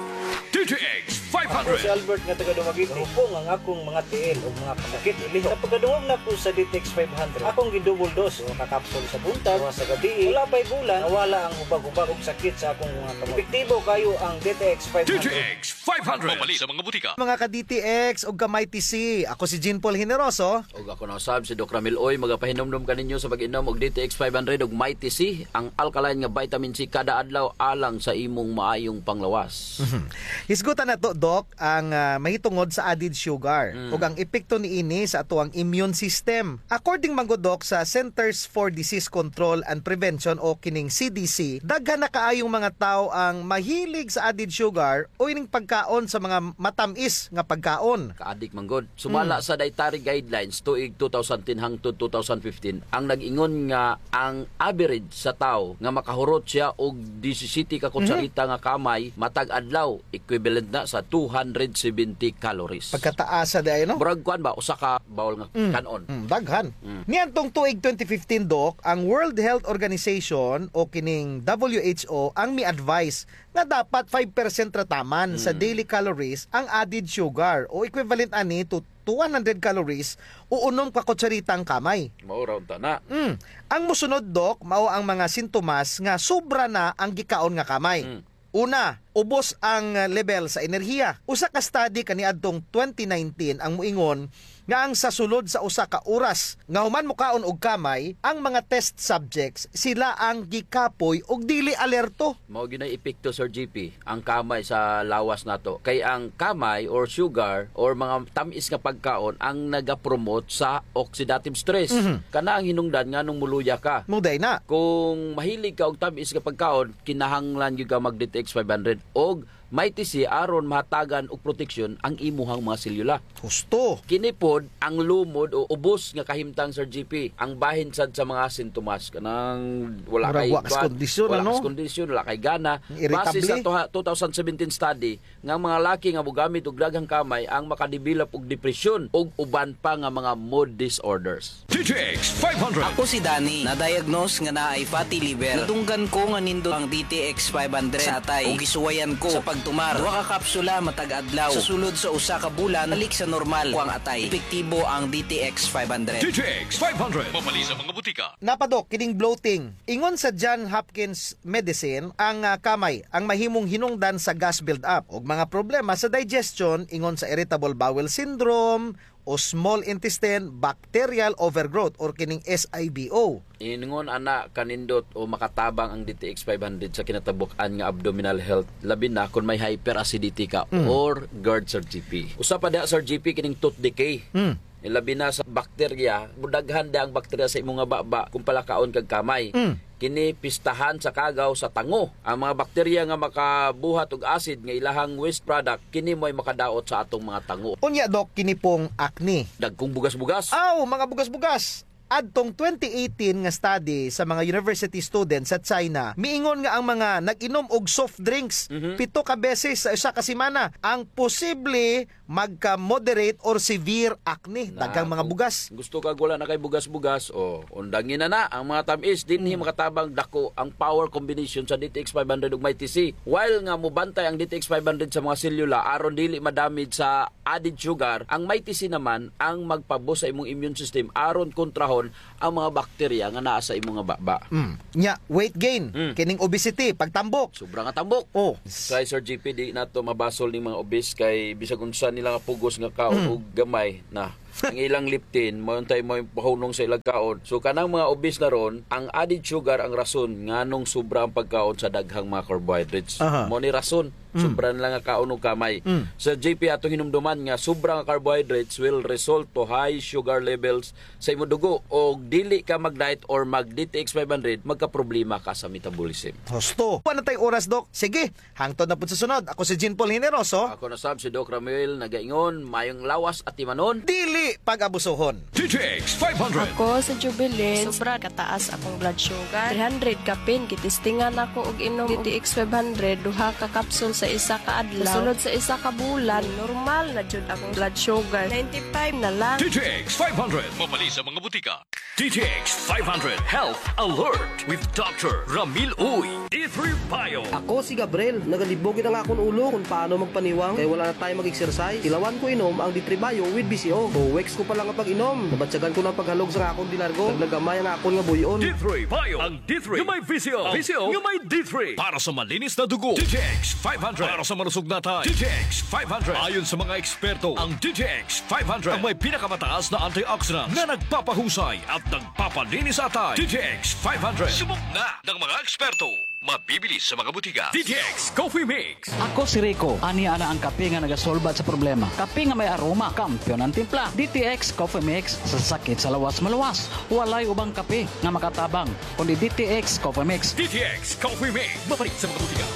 D T X Ako si five hundred. Albert nga taga Dumaguete. Hupong ang akong mga tiil ug mga kasakit. Sa pagkadungog nako sa D T X five hundred, akong gi-double dose, usa ka kapsul sa buntag, usa sa gabii. Wala pa'y bulan, nawala ang hubag-hubag ug sakit sa akong mga kamot. Epektibo kaayo ang D T X five hundred. D T X five hundred. Mapalit sa mga butika. Mga ka-D T X ug ka-Mighty C, ako si Jean Paul Generoso. Ug ako na usab si Doc Ramil Uy, magapahinumdom kaninyo sa pag-inom og D T X five hundred ug Mighty C, ang alkaline nga vitamin C kada adlaw alang sa imong maayong panglawas. Mhm. Hisgutan nato, Doc, ang, ah, mahitungod sa added sugar Mm. ug ang epekto niini sa atoang immune system. According man gud, Doc, sa Centers for Disease Control and Prevention o kining C D C, daghan na kaayong mga tawo ang mahilig sa added sugar o ining pagkaon sa mga matam-is nga pagkaon. Kaadik man gud. Sumala Mm. sa dietary guidelines tuig two thousand ten hangtod two thousand fifteen, ang nag-ingon nga ang average sa tawo nga makahurot siya og disisiyete ka Mhm. kutsarita nga kamay matag adlaw, equivalent na sa two hundred seventy calories. Pagkataas sa diay, no? Murag kuan ba, usa ka bowl nga Mm. kan-on. Mm, daghan. Mm. Niadtong tuig twenty fifteen, Doc, ang World Health Organization o kining W H O ang mi-advise nga dapat five percent ra taman sa Mm. daily calories ang added sugar o equivalent ani to, to one hundred calories o unom ka kutsarita ang kamay. Mao ra unta na. Mm. Ang mosunod, Doc, mao ang mga sintomas nga sobra na ang gikaon nga kamay. Mm. Una, ubos ang level sa enerhiya. Usa ka study kaniadtong twenty nineteen ang moingon nga ang sa sulod sa usa ka oras nga human mokaon og kamay, ang mga test subjects, sila ang gikapoy ug dili alerto. Mao gyud nay epekto, Sir G P, ang kamay sa lawas nato. Kay ang kamay or sugar or mga tam-is nga pagkaon ang nagapromote sa oxidative stress. Mhm. Kana ang hinungdan nganong moluya ka. Mao diay na. Kung mahilig ka og tam-is nga pagkaon, kinahanglan gyud ka mag D T X five hundred og Mighty C aron mahatagan og proteksyon ang imuhang mga selyula. Husto. Kini pod ang lumod o ubos nga kahimtang, Sir G P. Ang bahin sad sa mga sintomas, kanang wala Murag kay wa kas kuan, kondisyon, wala ano? kas kondisyon, wala kay gana. Irritable. Base sa tuha-, two thousand seventeen study, nga ang mga laki nga mogamit og daghang kamay ang makadevelop og depresyon ug uban pa nga mga mood disorders. D T X five hundred. Ako si Danny, na-diagnose nga naay fatty liver. Nadunggan ko nga nindot ang D T X five hundred sa atay. Ug gisuwayan ko sa pagtumar. Duha ka kapsula matag adlaw. Sa sulod sa usa ka bulan, balik sa normal ko ang atay. Epektibo ang D T X five hundred. D T X five hundred. Mapalit sa mga butika. Naa pa, Doc, kining bloating. Ingon sa John Hopkins Medicine, ang, ah, kamay ang mahimong hinungdan sa gas build-up ug mga problema sa digestion, ingon sa irritable bowel syndrome, o small intestine bacterial overgrowth or kining S I B O. Ingon ana kanindot o makatabang ang D T X five hundred sa kinatabuk-an nga abdominal health, labi na kon may hyperacidity ka Mm. or GERD, Sir G P. Usa pa diha, Sir G P, kining tooth decay. Mm. Labi na sa bakterya, mudaghan diha ang bakterya sa imo nga baba kung palakaon kag kamay. Mm. Kini pistahan sa kagaw sa tango. Ang mga bakterya nga makabuhat og acid nga ilahang waste product, kini mo'y makadaot sa atong mga tango. Unya, Doc, kini pong acne. Dagkong bugas-bugas. Aw, mga bugas-bugas. Adtong twenty eighteen nga study sa mga university students sa China, miingon nga ang mga nag-inom og soft drinks, Mhm. pito ka beses sa usa ka semana, ang posible magka-moderate or severe acne. Na, daghang mga kung bugas. Gusto kag wala na kay bugas-bugas, o, undangi na na ang mga tam-is, dinhi Mm. makatabang dako ang power combination sa D T X five hundred ug Mighty C. While nga mubantay ang D T X five hundred sa mga selula aron dili madamage sa added sugar, ang Mighty C naman ang magpaboost sa imong immune system aron kontrahon ang mga bakterya nga naa sa imong nga baba. Mm. Nya, weight gain, Mm. kining obesity, pagtambok. Sobra nga tambok. Oh. Kay Sir G P, di nato mabasol ning mga obese kay bisag unsa nila nga pugos nga kaon Mm. og gamay na. Ang ilang leptin, mao untay mao'y pahunong sa ilang kaon. So, kanang mga obese na ron, ang added sugar ang rason nganong sobra ang pagkaon sa daghang mga carbohydrates. Aha. Mao ni rason, Mm. sobra nila nga kaon og kamay. Mm. Sir G P, atong hinumduman nga sobra nga carbohydrates will result to high sugar levels sa imong dugo, og dili ka mag-diet or mag D T X five hundred, magkaproblema ka sa metabolism. Husto. Wala na tay oras, Doc. Sige, hangtod na pud sa sunod. Ako si Jean Paul Generoso. Ako na sab si Doc Ramuel, nagaingon, mayong lawas atimanon. Dili pag-abusohon. D T X five hundred. Ako si Jubilin. Sobra kataas akong blood sugar. Three hundred kapin, gitistingan ako og inom D T X five hundred, duha ka kapsul sa isa ka adlaw. Sa sunod sa isa ka bulan, normal na jud akong blood sugar. Ninety-five na lang. D T X five hundred. Mabali sa mga butika. D T X five hundred Health Alert with Doctor Ramil Uy. D three Bio. Ako si Gabriel. Nagalibog gid ang akon ulo kon paano magpaniwang kay wala na tayo mag-exercise. Tilawan ko inom ang D three Bio with V C O. Two weeks ko pa lang nga pag-inom, nabatyagan ko na ang paghalog sa akon delargo. Nagnagamay ang akon nga buy-on. D three Bio. Ang D three nga may V C O. V C O nga may D three. Para sa malinis na dugo, D T X five hundred. Para sa malusog na atay, D T X five hundred. Ayon sa mga eksperto, ang D T X five hundred ang may pinakamataas na antioxidant na nagpapahusay at nagpapalinis sa atay. D T X five hundred. Subok na ng mga eksperto. Mabibili sa mga butika. D T X Coffee Mix. Ako si Rico. Ania na ang kape nga nagasolbat sa problema. Kape nga may aroma, kampiyon ang timpla. D T X Coffee Mix, sa sakit sa lawas maluwas. Walay ubang kape nga makatabang kundi D T X Coffee Mix. D T X Coffee Mix. Mabalik sa mga butika.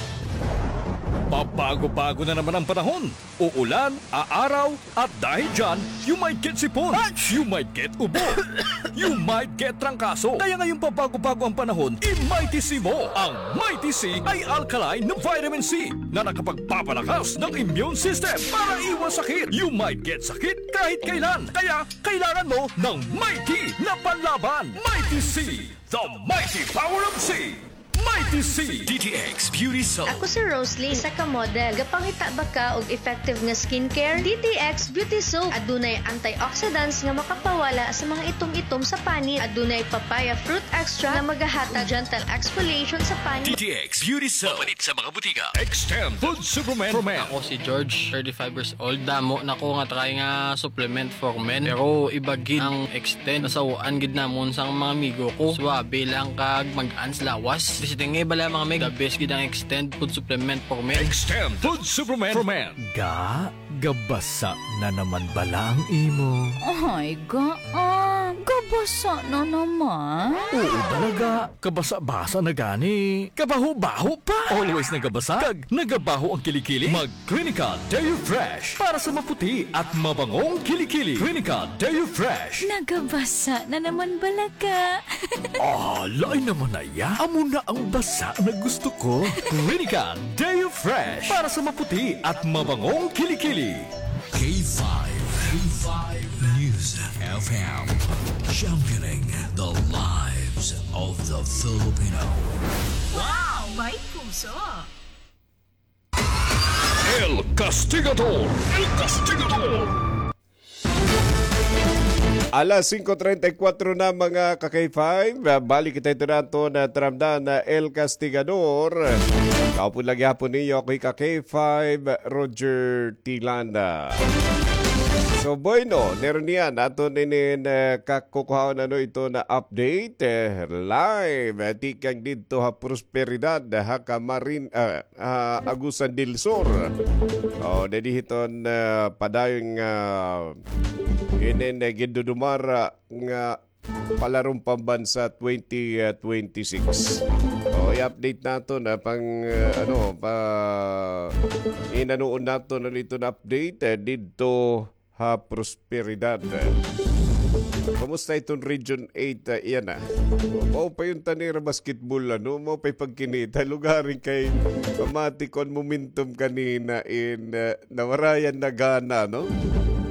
Pabago-bago na naman ang panahon. Uulan, aaraw, at dahil dyan, you might get sipon. You might get ubo. You might get trangkaso. Kaya ngayong pabago-bago ang panahon, i-Mighty C mo. Ang Mighty C ay alkaline na vitamin C na nakapagpapalakas ng immune system para iwas sakit. You might get sakit kahit kailan. Kaya kailangan mo ng Mighty na panlaban. Mighty C, the mighty power of C. Mighty C. D T X Beauty Soap. Ako si Rosalie, isa ka model. Gapangita ba ka og effective nga skincare? D T X Beauty Soap. Adunay antioxidants nga makapawala sa mga itom-itom sa panit. Adunay papaya fruit extract nga magahatag gentle exfoliation sa panit. D T X Beauty Soap. Mapalit sa mga butika. Extend Food Supplement for Men. Ako si George, thirty-five years old. Damo na ko nga try nga supplement for men. Pero iba gid ang Extend. Nasaw-an gid namon sang mga amigo ko. Suabe lang kag mag-an sa lawas. Bisita nga bala mga meg, the best gid ang Extend Food Supplement for Men. Extend Food Supplement for Men. Ga, gabasa na naman bala ang imo? Ay, ga, ah, gabasa na naman. Oo bala, ga. Kabasa-basa na gani. Kabaho-baho pa. Always nagabasa. Kag nagabaho ang kilikili. Mag Clinical Deo Fresh para sa maputi at mabangong kilikili. Clinical Deo Fresh. Nagabasa na naman bala ka. Ah, lain naman na iya. Amo na ang basa na gusto ko. Clinical Deo Fresh para sa maputi at mabangong kilikili. K five, K five News F M, championing the lives of the Filipino. Wow! May puso! El Castigador! El Castigador! Alas singko treinta y cuatro na, mga ka-K five. Balik kita ito nato na taramdan na El Castigador. Kaupod lagi hapon niyo, ako ka-K five, Roger Tilanda. So, bueno, nero niyan, aton inin, eh, kakukuhaon ano ito na update, eh, live, eh, tikang didto ha Prosperidad, ha Camarin-, ah, ha Agusan del Sur. O, didi hiton, eh, padayon nga, inin, eh, gindudumara nga palarong pambansa twenty twenty-six. O, i-update naton, ah, pang, ah, ano, pa, inanuon naton ano iton update, eh, didto ha Prosperidad. Kumusta iton Region eight, ah, iyan na? Mao pa iton tanira basketball, ano? Mao pa pagkinita. Lugaring kay pamati ko an momentum kanina in, ah, nawarayan na gana, no?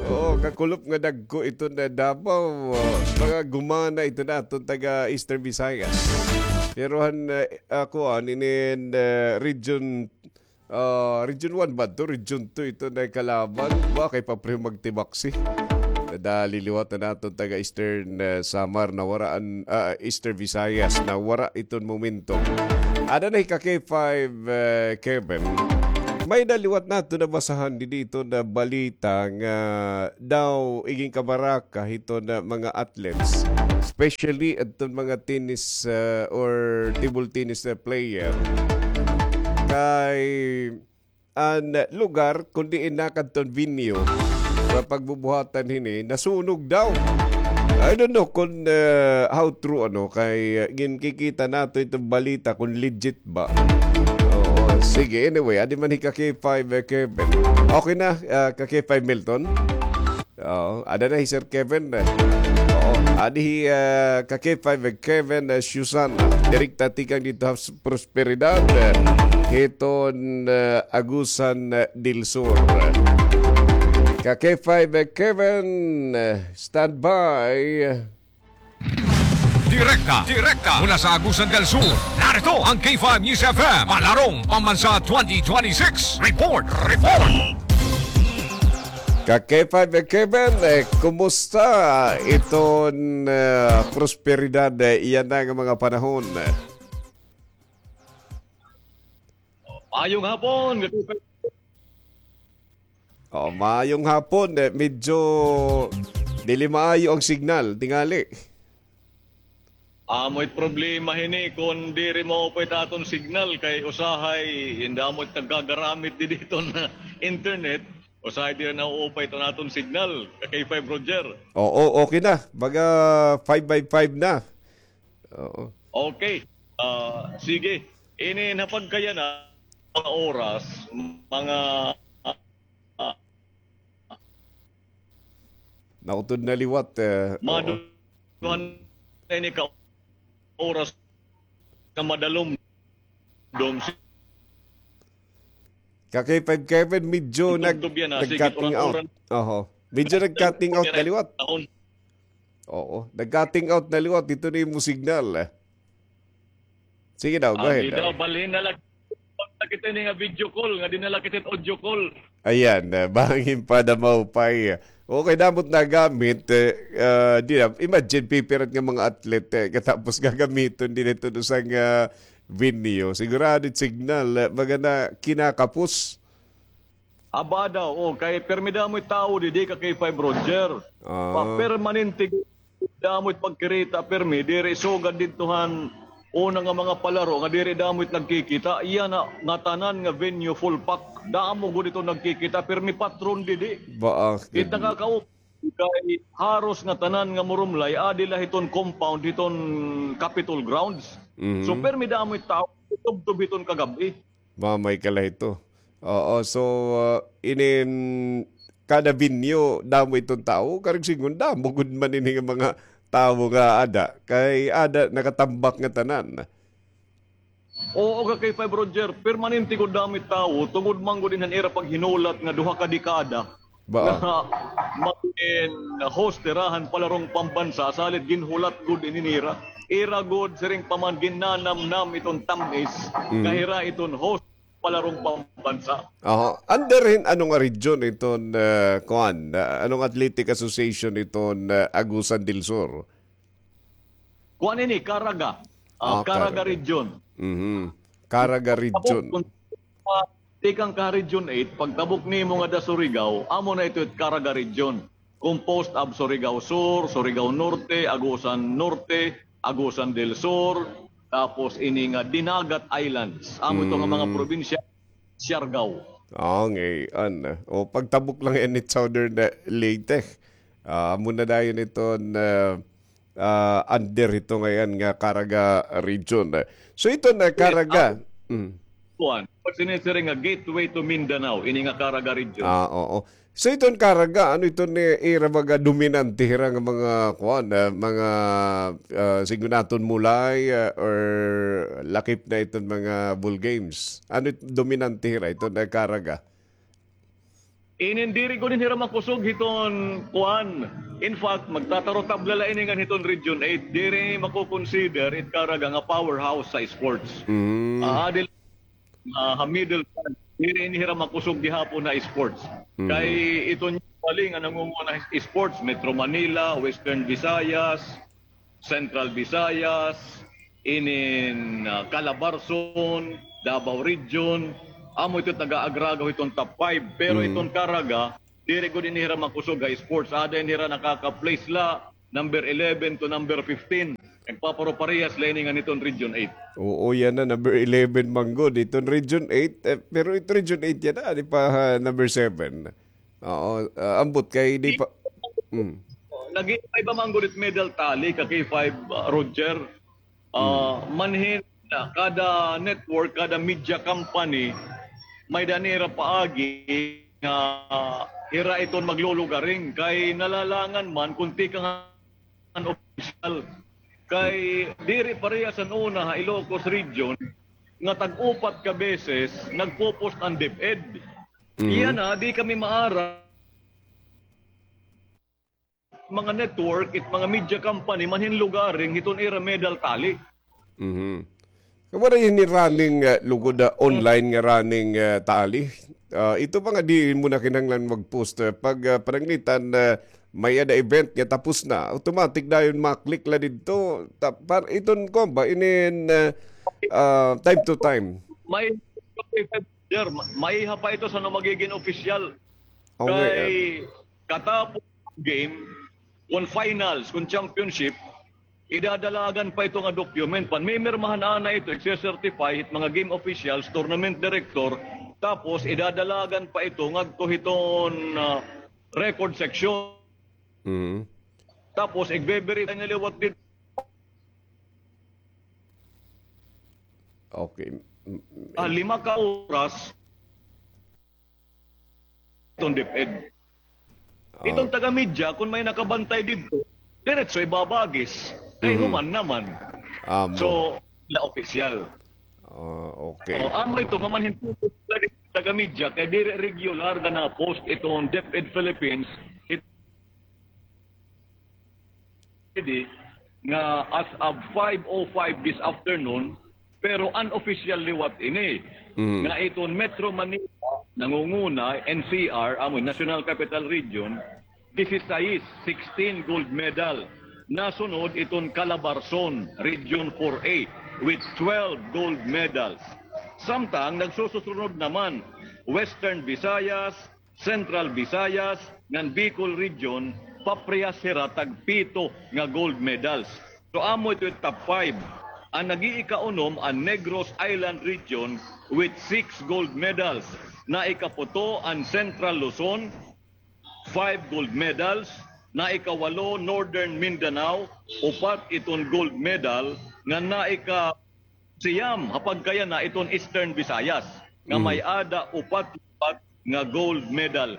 Oo, kakulop nga dagko ito na Davao. Ah, mga gumana ito na aton taga Eastern Visayas. Pero han, ah, ako, ah, inin, ah, region, ah, region one ba to? Region two ito na kalaban. Ba, kay papreho magtibaksi. Nadali liwat na naton taga Eastern, ah, Samar na waraan, ah, Eastern Visayas na wara iton momentum. Ada na hi ka K five, eh, Kevin. May naliwat naton nabasahan didi ito na balita nga daw igin kabaraka hiton mga athletes, especially adton mga tennis, uh, or table tennis na player. Kay an lugar kun diin nakadton venue sa pagbubuhatan hini, nasunog daw. I don't know kun, uh, how true, ano, kay, uh, ginkikita naton iton balita kun legit ba. Oo, sige, anyway, adi man hi ka K five, eh, Kevin. Okay na, uh, ka K five Milton? Oo, ada na hi Sir Kevin, eh. Oo, adi hi, ah, ka K five, eh, Kevin, eh, Susan. Direkta tikang didto ha Prosperidad, eh, hiton, eh, Agusan, eh, del Sur. Ka K five, eh, Kevin, eh, standby. Direkta, direkta mula sa Agusan del Sur. Narito ang K five News F M, Palarong Pambansa twenty twenty-six. Report, report. Ka K five Kevin, eh, kumusta iton, eh, prosperidad, eh, iyan na nga mga panahon? Maayong hapon, ka K five. Oh, maayong hapon. Eh, medyo dili maayo ang signal, tingali. Amo it problema hini, kon diri maupay it aton signal, kay usahay, hin damo it nagkagaramit didi hiton internet, usahay diri nauupay iton aton signal, ka K five Roger. Oo, okay na. Baga five by five na. Oo. Okay. Ah, sige. Ini na pagkayana, mga oras, mga, ah, nautod na liwat, eh, mga oo. Duha na ini ka oras ka madalom, dom si Ka K five Kevin, medyo nag-, nag-cutting out. Oho. Medyo nag-cutting out na liwat. Oo, nag-cutting out na liwat. Ito na imo signal, eh. Sige daw, go ahead. Di daw, balhin na la kita ini nga video call, nga di na la kita audio call. Ayan, eh, bangin pa na maupay. Okay, damo it nagamit, eh, ah, di na, imagine, pipirat nga mga athlete, eh, katapos gagamiton didi hiton usa nga, ah, venue. Sigurado it signal, eh, baga na kinakapos. Aba daw, oh, kay permi damo it tawo didi ka K five Roger. Ah. Pa-, permanente damo it pagkirita, permi, diri sugad didto han una nga mga palaro nga diri damo it nagkikita. Iya na ngatanan nga venue full pack. Damo gud ito nagkikita, permi patron didi. Ba, ah, it nakakaup-, kay haros ngatanan nga murumlay, adi la hiton compound, hiton Capitol grounds. Mhm. So, permi damo it tawo, tubtob hiton kagab-i. Mamay ka la hito. Oo, so, ah, inin kada venue, damo iton tawo. Karuyag sidngon, damo gud man ini nga mga tawo nga ada. Kay ada, nakatambak ngatanan. Oo, ka K five Roger, permanente gud damo it tawo, tungod man gud ini han ira paghinulat nga duha ka dekada. Ba? Nga magin host hira han palarong pambansa, salit ginhulat gud ini nira. Ira gud, siring pa man, ginnanamnam iton tam-is, mm, nga hira iton host palarong pambansa. Aha. Under hin ano nga region iton, eh, kuan, eh, anong athletic association iton, eh, Agusan del Sur? Kuan ini, Caraga. Ah, ah, Caraga, Caraga region. Mhm. Caraga region. Pagtabok, ah, tikang ka Region eight, pagtabok nimo ngada Surigao, amo na ito it Caraga region. composed of Surigao Sur, Surigao Norte, Agusan Norte, Agusan del Sur, tapos ini nga Dinagat Islands. Amo ito nga mga probinsya, Siargao. Oh, ngay-an. O, pagtabok la ngay-an ni Southern, eh, Leyte. Ah, amo na dayon iton, ah, ah, under ito ngay-an nga Caraga region. So, iton, eh, Caraga. Kuan, pag sinisiring nga gateway to Mindanao, ini nga Caraga region. Ah, oo. So, iton Caraga, ano iton, eh, ira mga dominante hira nga mga, kuan, ah, mga, ah, sige naton mulay, ah, or lakip na iton mga ball games? Ano it dominante hira iton, eh, Caraga? Inin diri gud hira makusog hiton kuan. In fact, magtatarotabla la ini ngan hiton Region eight. Diri mako-consider it Caraga nga powerhouse sa sports. Mm. Ah, adil, ah, ha middle part, diri ini hira makusog gihapon ha sports. Mm. Kay iton usually nga nangunguna sports, Metro Manila, Western Visayas, Central Visayas, inin, ah, Calabarzon, Davao Region, amo ito taga-agragaw hiton top five. Pero iton Caraga, diri gud ini hira makusog ha sports. Ada ini hira nakaka-place la, number eleven to number fifteen. Nagpaparuparehas la ini ngan hiton Region eight. Oo, yana, number eleven man gud. Iton Region eight, eh, pero ito Region eight yana, di pa, ah, number seven. Oo, ah, ambot kay di pa. Mm. Nag-iiba man gud it medal tally, ka K five, ah, Roger. Ah, manhin na, kada network, kada media company, may-ada nira paagi nga hira iton maglulugaring. Kay nalalangan man kon tikang han opisyal. Kay diri parehas han una ha Ilocos Region nga tag-upat ka beses nagpo-post an DepEd. Yana, di kami maaram mga network, it mga media company, manhin lugaring hiton ira medal tally. Mhm. Waray ini running, ah, lugod, ah, online nga running, ah, tally. Ah, ito pa nga di mo na kinahanglan mag-post, ah, pag, ah, pananglitan, ah, may-ada event nga tapos na, automatic dayon ma-click la didto. Ta-, par-, iton kuan ba, inin, ah, ah, time to time. May Sir, ma-, maiha pa ito san-o magigin opisyal. Okay, kay katapos game, kon finals, kon championship, idadalagan pa ito nga document. Panmimirmahan ana ito, igse-certify it mga game officials, tournament director, tapos idadalagan pa ito ngadto hiton, ah, record section. Mm. Tapos igbe-verify na liwat didto. Okay. Ah, lima ka oras, iton DepEd. Ah. Iton taga-media, kon may nakabantay didto, diretso ibabagis. Kay human naman. Amo. So, la opisyal. Ah, okay. O, amo ito, mamanhin taga-media, kay diri regular nga na-post iton DepEd Philippines, it-, nga as of five oh five this afternoon, pero unofficial liwat ini. Mm. Nga iton Metro Manila, nangunguna, N C R, amo, National Capital Region, disisais, sixteen gold medal. Nasunod iton Calabarzon, Region four A, with twelve gold medals. Samtang nagsususunod naman, Western Visayas, Central Visayas, ngan Bicol Region, paprehas hira tagpito nga gold medals. So, amo ito it top five. An nag-iikaunom an Negros Island Region with six gold medals. Naikaputo an Central Luzon, five gold medals. Naikawalo, Northern Mindanao, upat iton gold medal. Ngan naika siyam, ha pagkayana iton Eastern Visayas, nga may-ada upat-upat nga gold medal.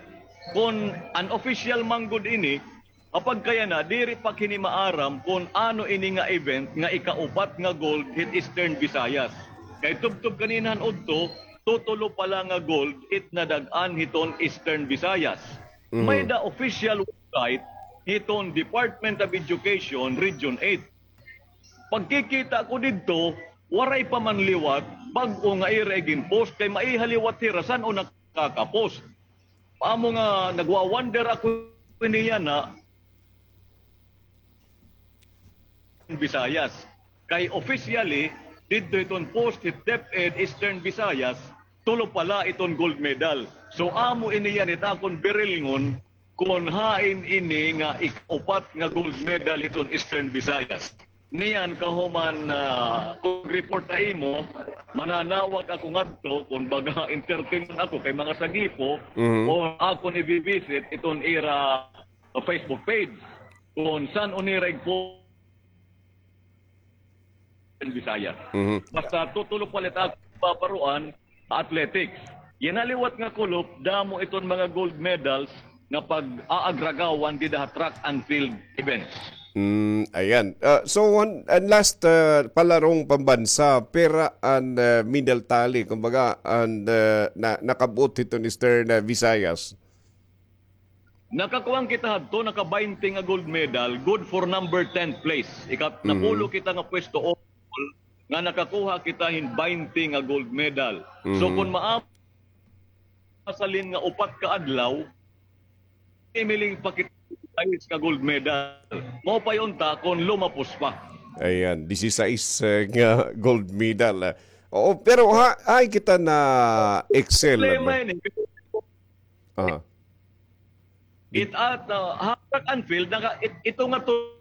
Kon unofficial man gud ini, ha pagkayana, diri pa kini maaram kon ano ini nga event nga ikaupat nga gold hit Eastern Visayas. Kay tubtob kanina han udto, tutulo pa la nga gold it nadag-an hiton Eastern Visayas. Mhm. May-ada official website hiton Department of Education, Region eight. Pagkikita ko didto, waray pa man liwat, bag-o nga ira igin-post, kay maiha liwat hira san-o nakaka-post. Amo nga nagwa-wonder ako niyan na Visayas. Kay officially, didto iton post hit DepEd Eastern Visayas, tulo pa la iton gold medal. So, amo ini yan it akon birilngon, kon hain ini nga ikaupat nga gold medal hiton Eastern Visayas. Niyan kahuman, ah, kon report ha imo, mananawag ako ngadto, kon baga entertain ako kay mga sagipo, Mhm. o akon i-visit iton ira Facebook page. Kon san-o nira igpo-, Bisaya. Mhm. Basta tutulo palit ako paparuan, athletics. Yana liwat nga kulop, damo iton mga gold medals nga pag-aagragawan dida ha track and field events. Mm, ayan. Ah, so, one, and last, ah, palarong pambansa, pira an, ah, medal tally, kumbaga, an, ah, na, nakab-ot hiton Eastern, ah, Visayas? Nakakuan kita hadto, naka-baynte nga gold medal, good for number ten place. Ika-, Mhm. napulo kita nga pwesto overall, nga nakakuha kita hin baynte nga gold medal. So, Mhm. kon maa-, masalin nga upat ka adlaw, imiling pa kita disisais ka gold medal. Mao pa unta kon lumapos pa. Ayan, disisais, eh, nga gold medal, ah. Oo, pero ha, ay kita na excel, Problema ano? Ini. Aha. It at, uh, ha track and field, naka-, it-, ito nga to,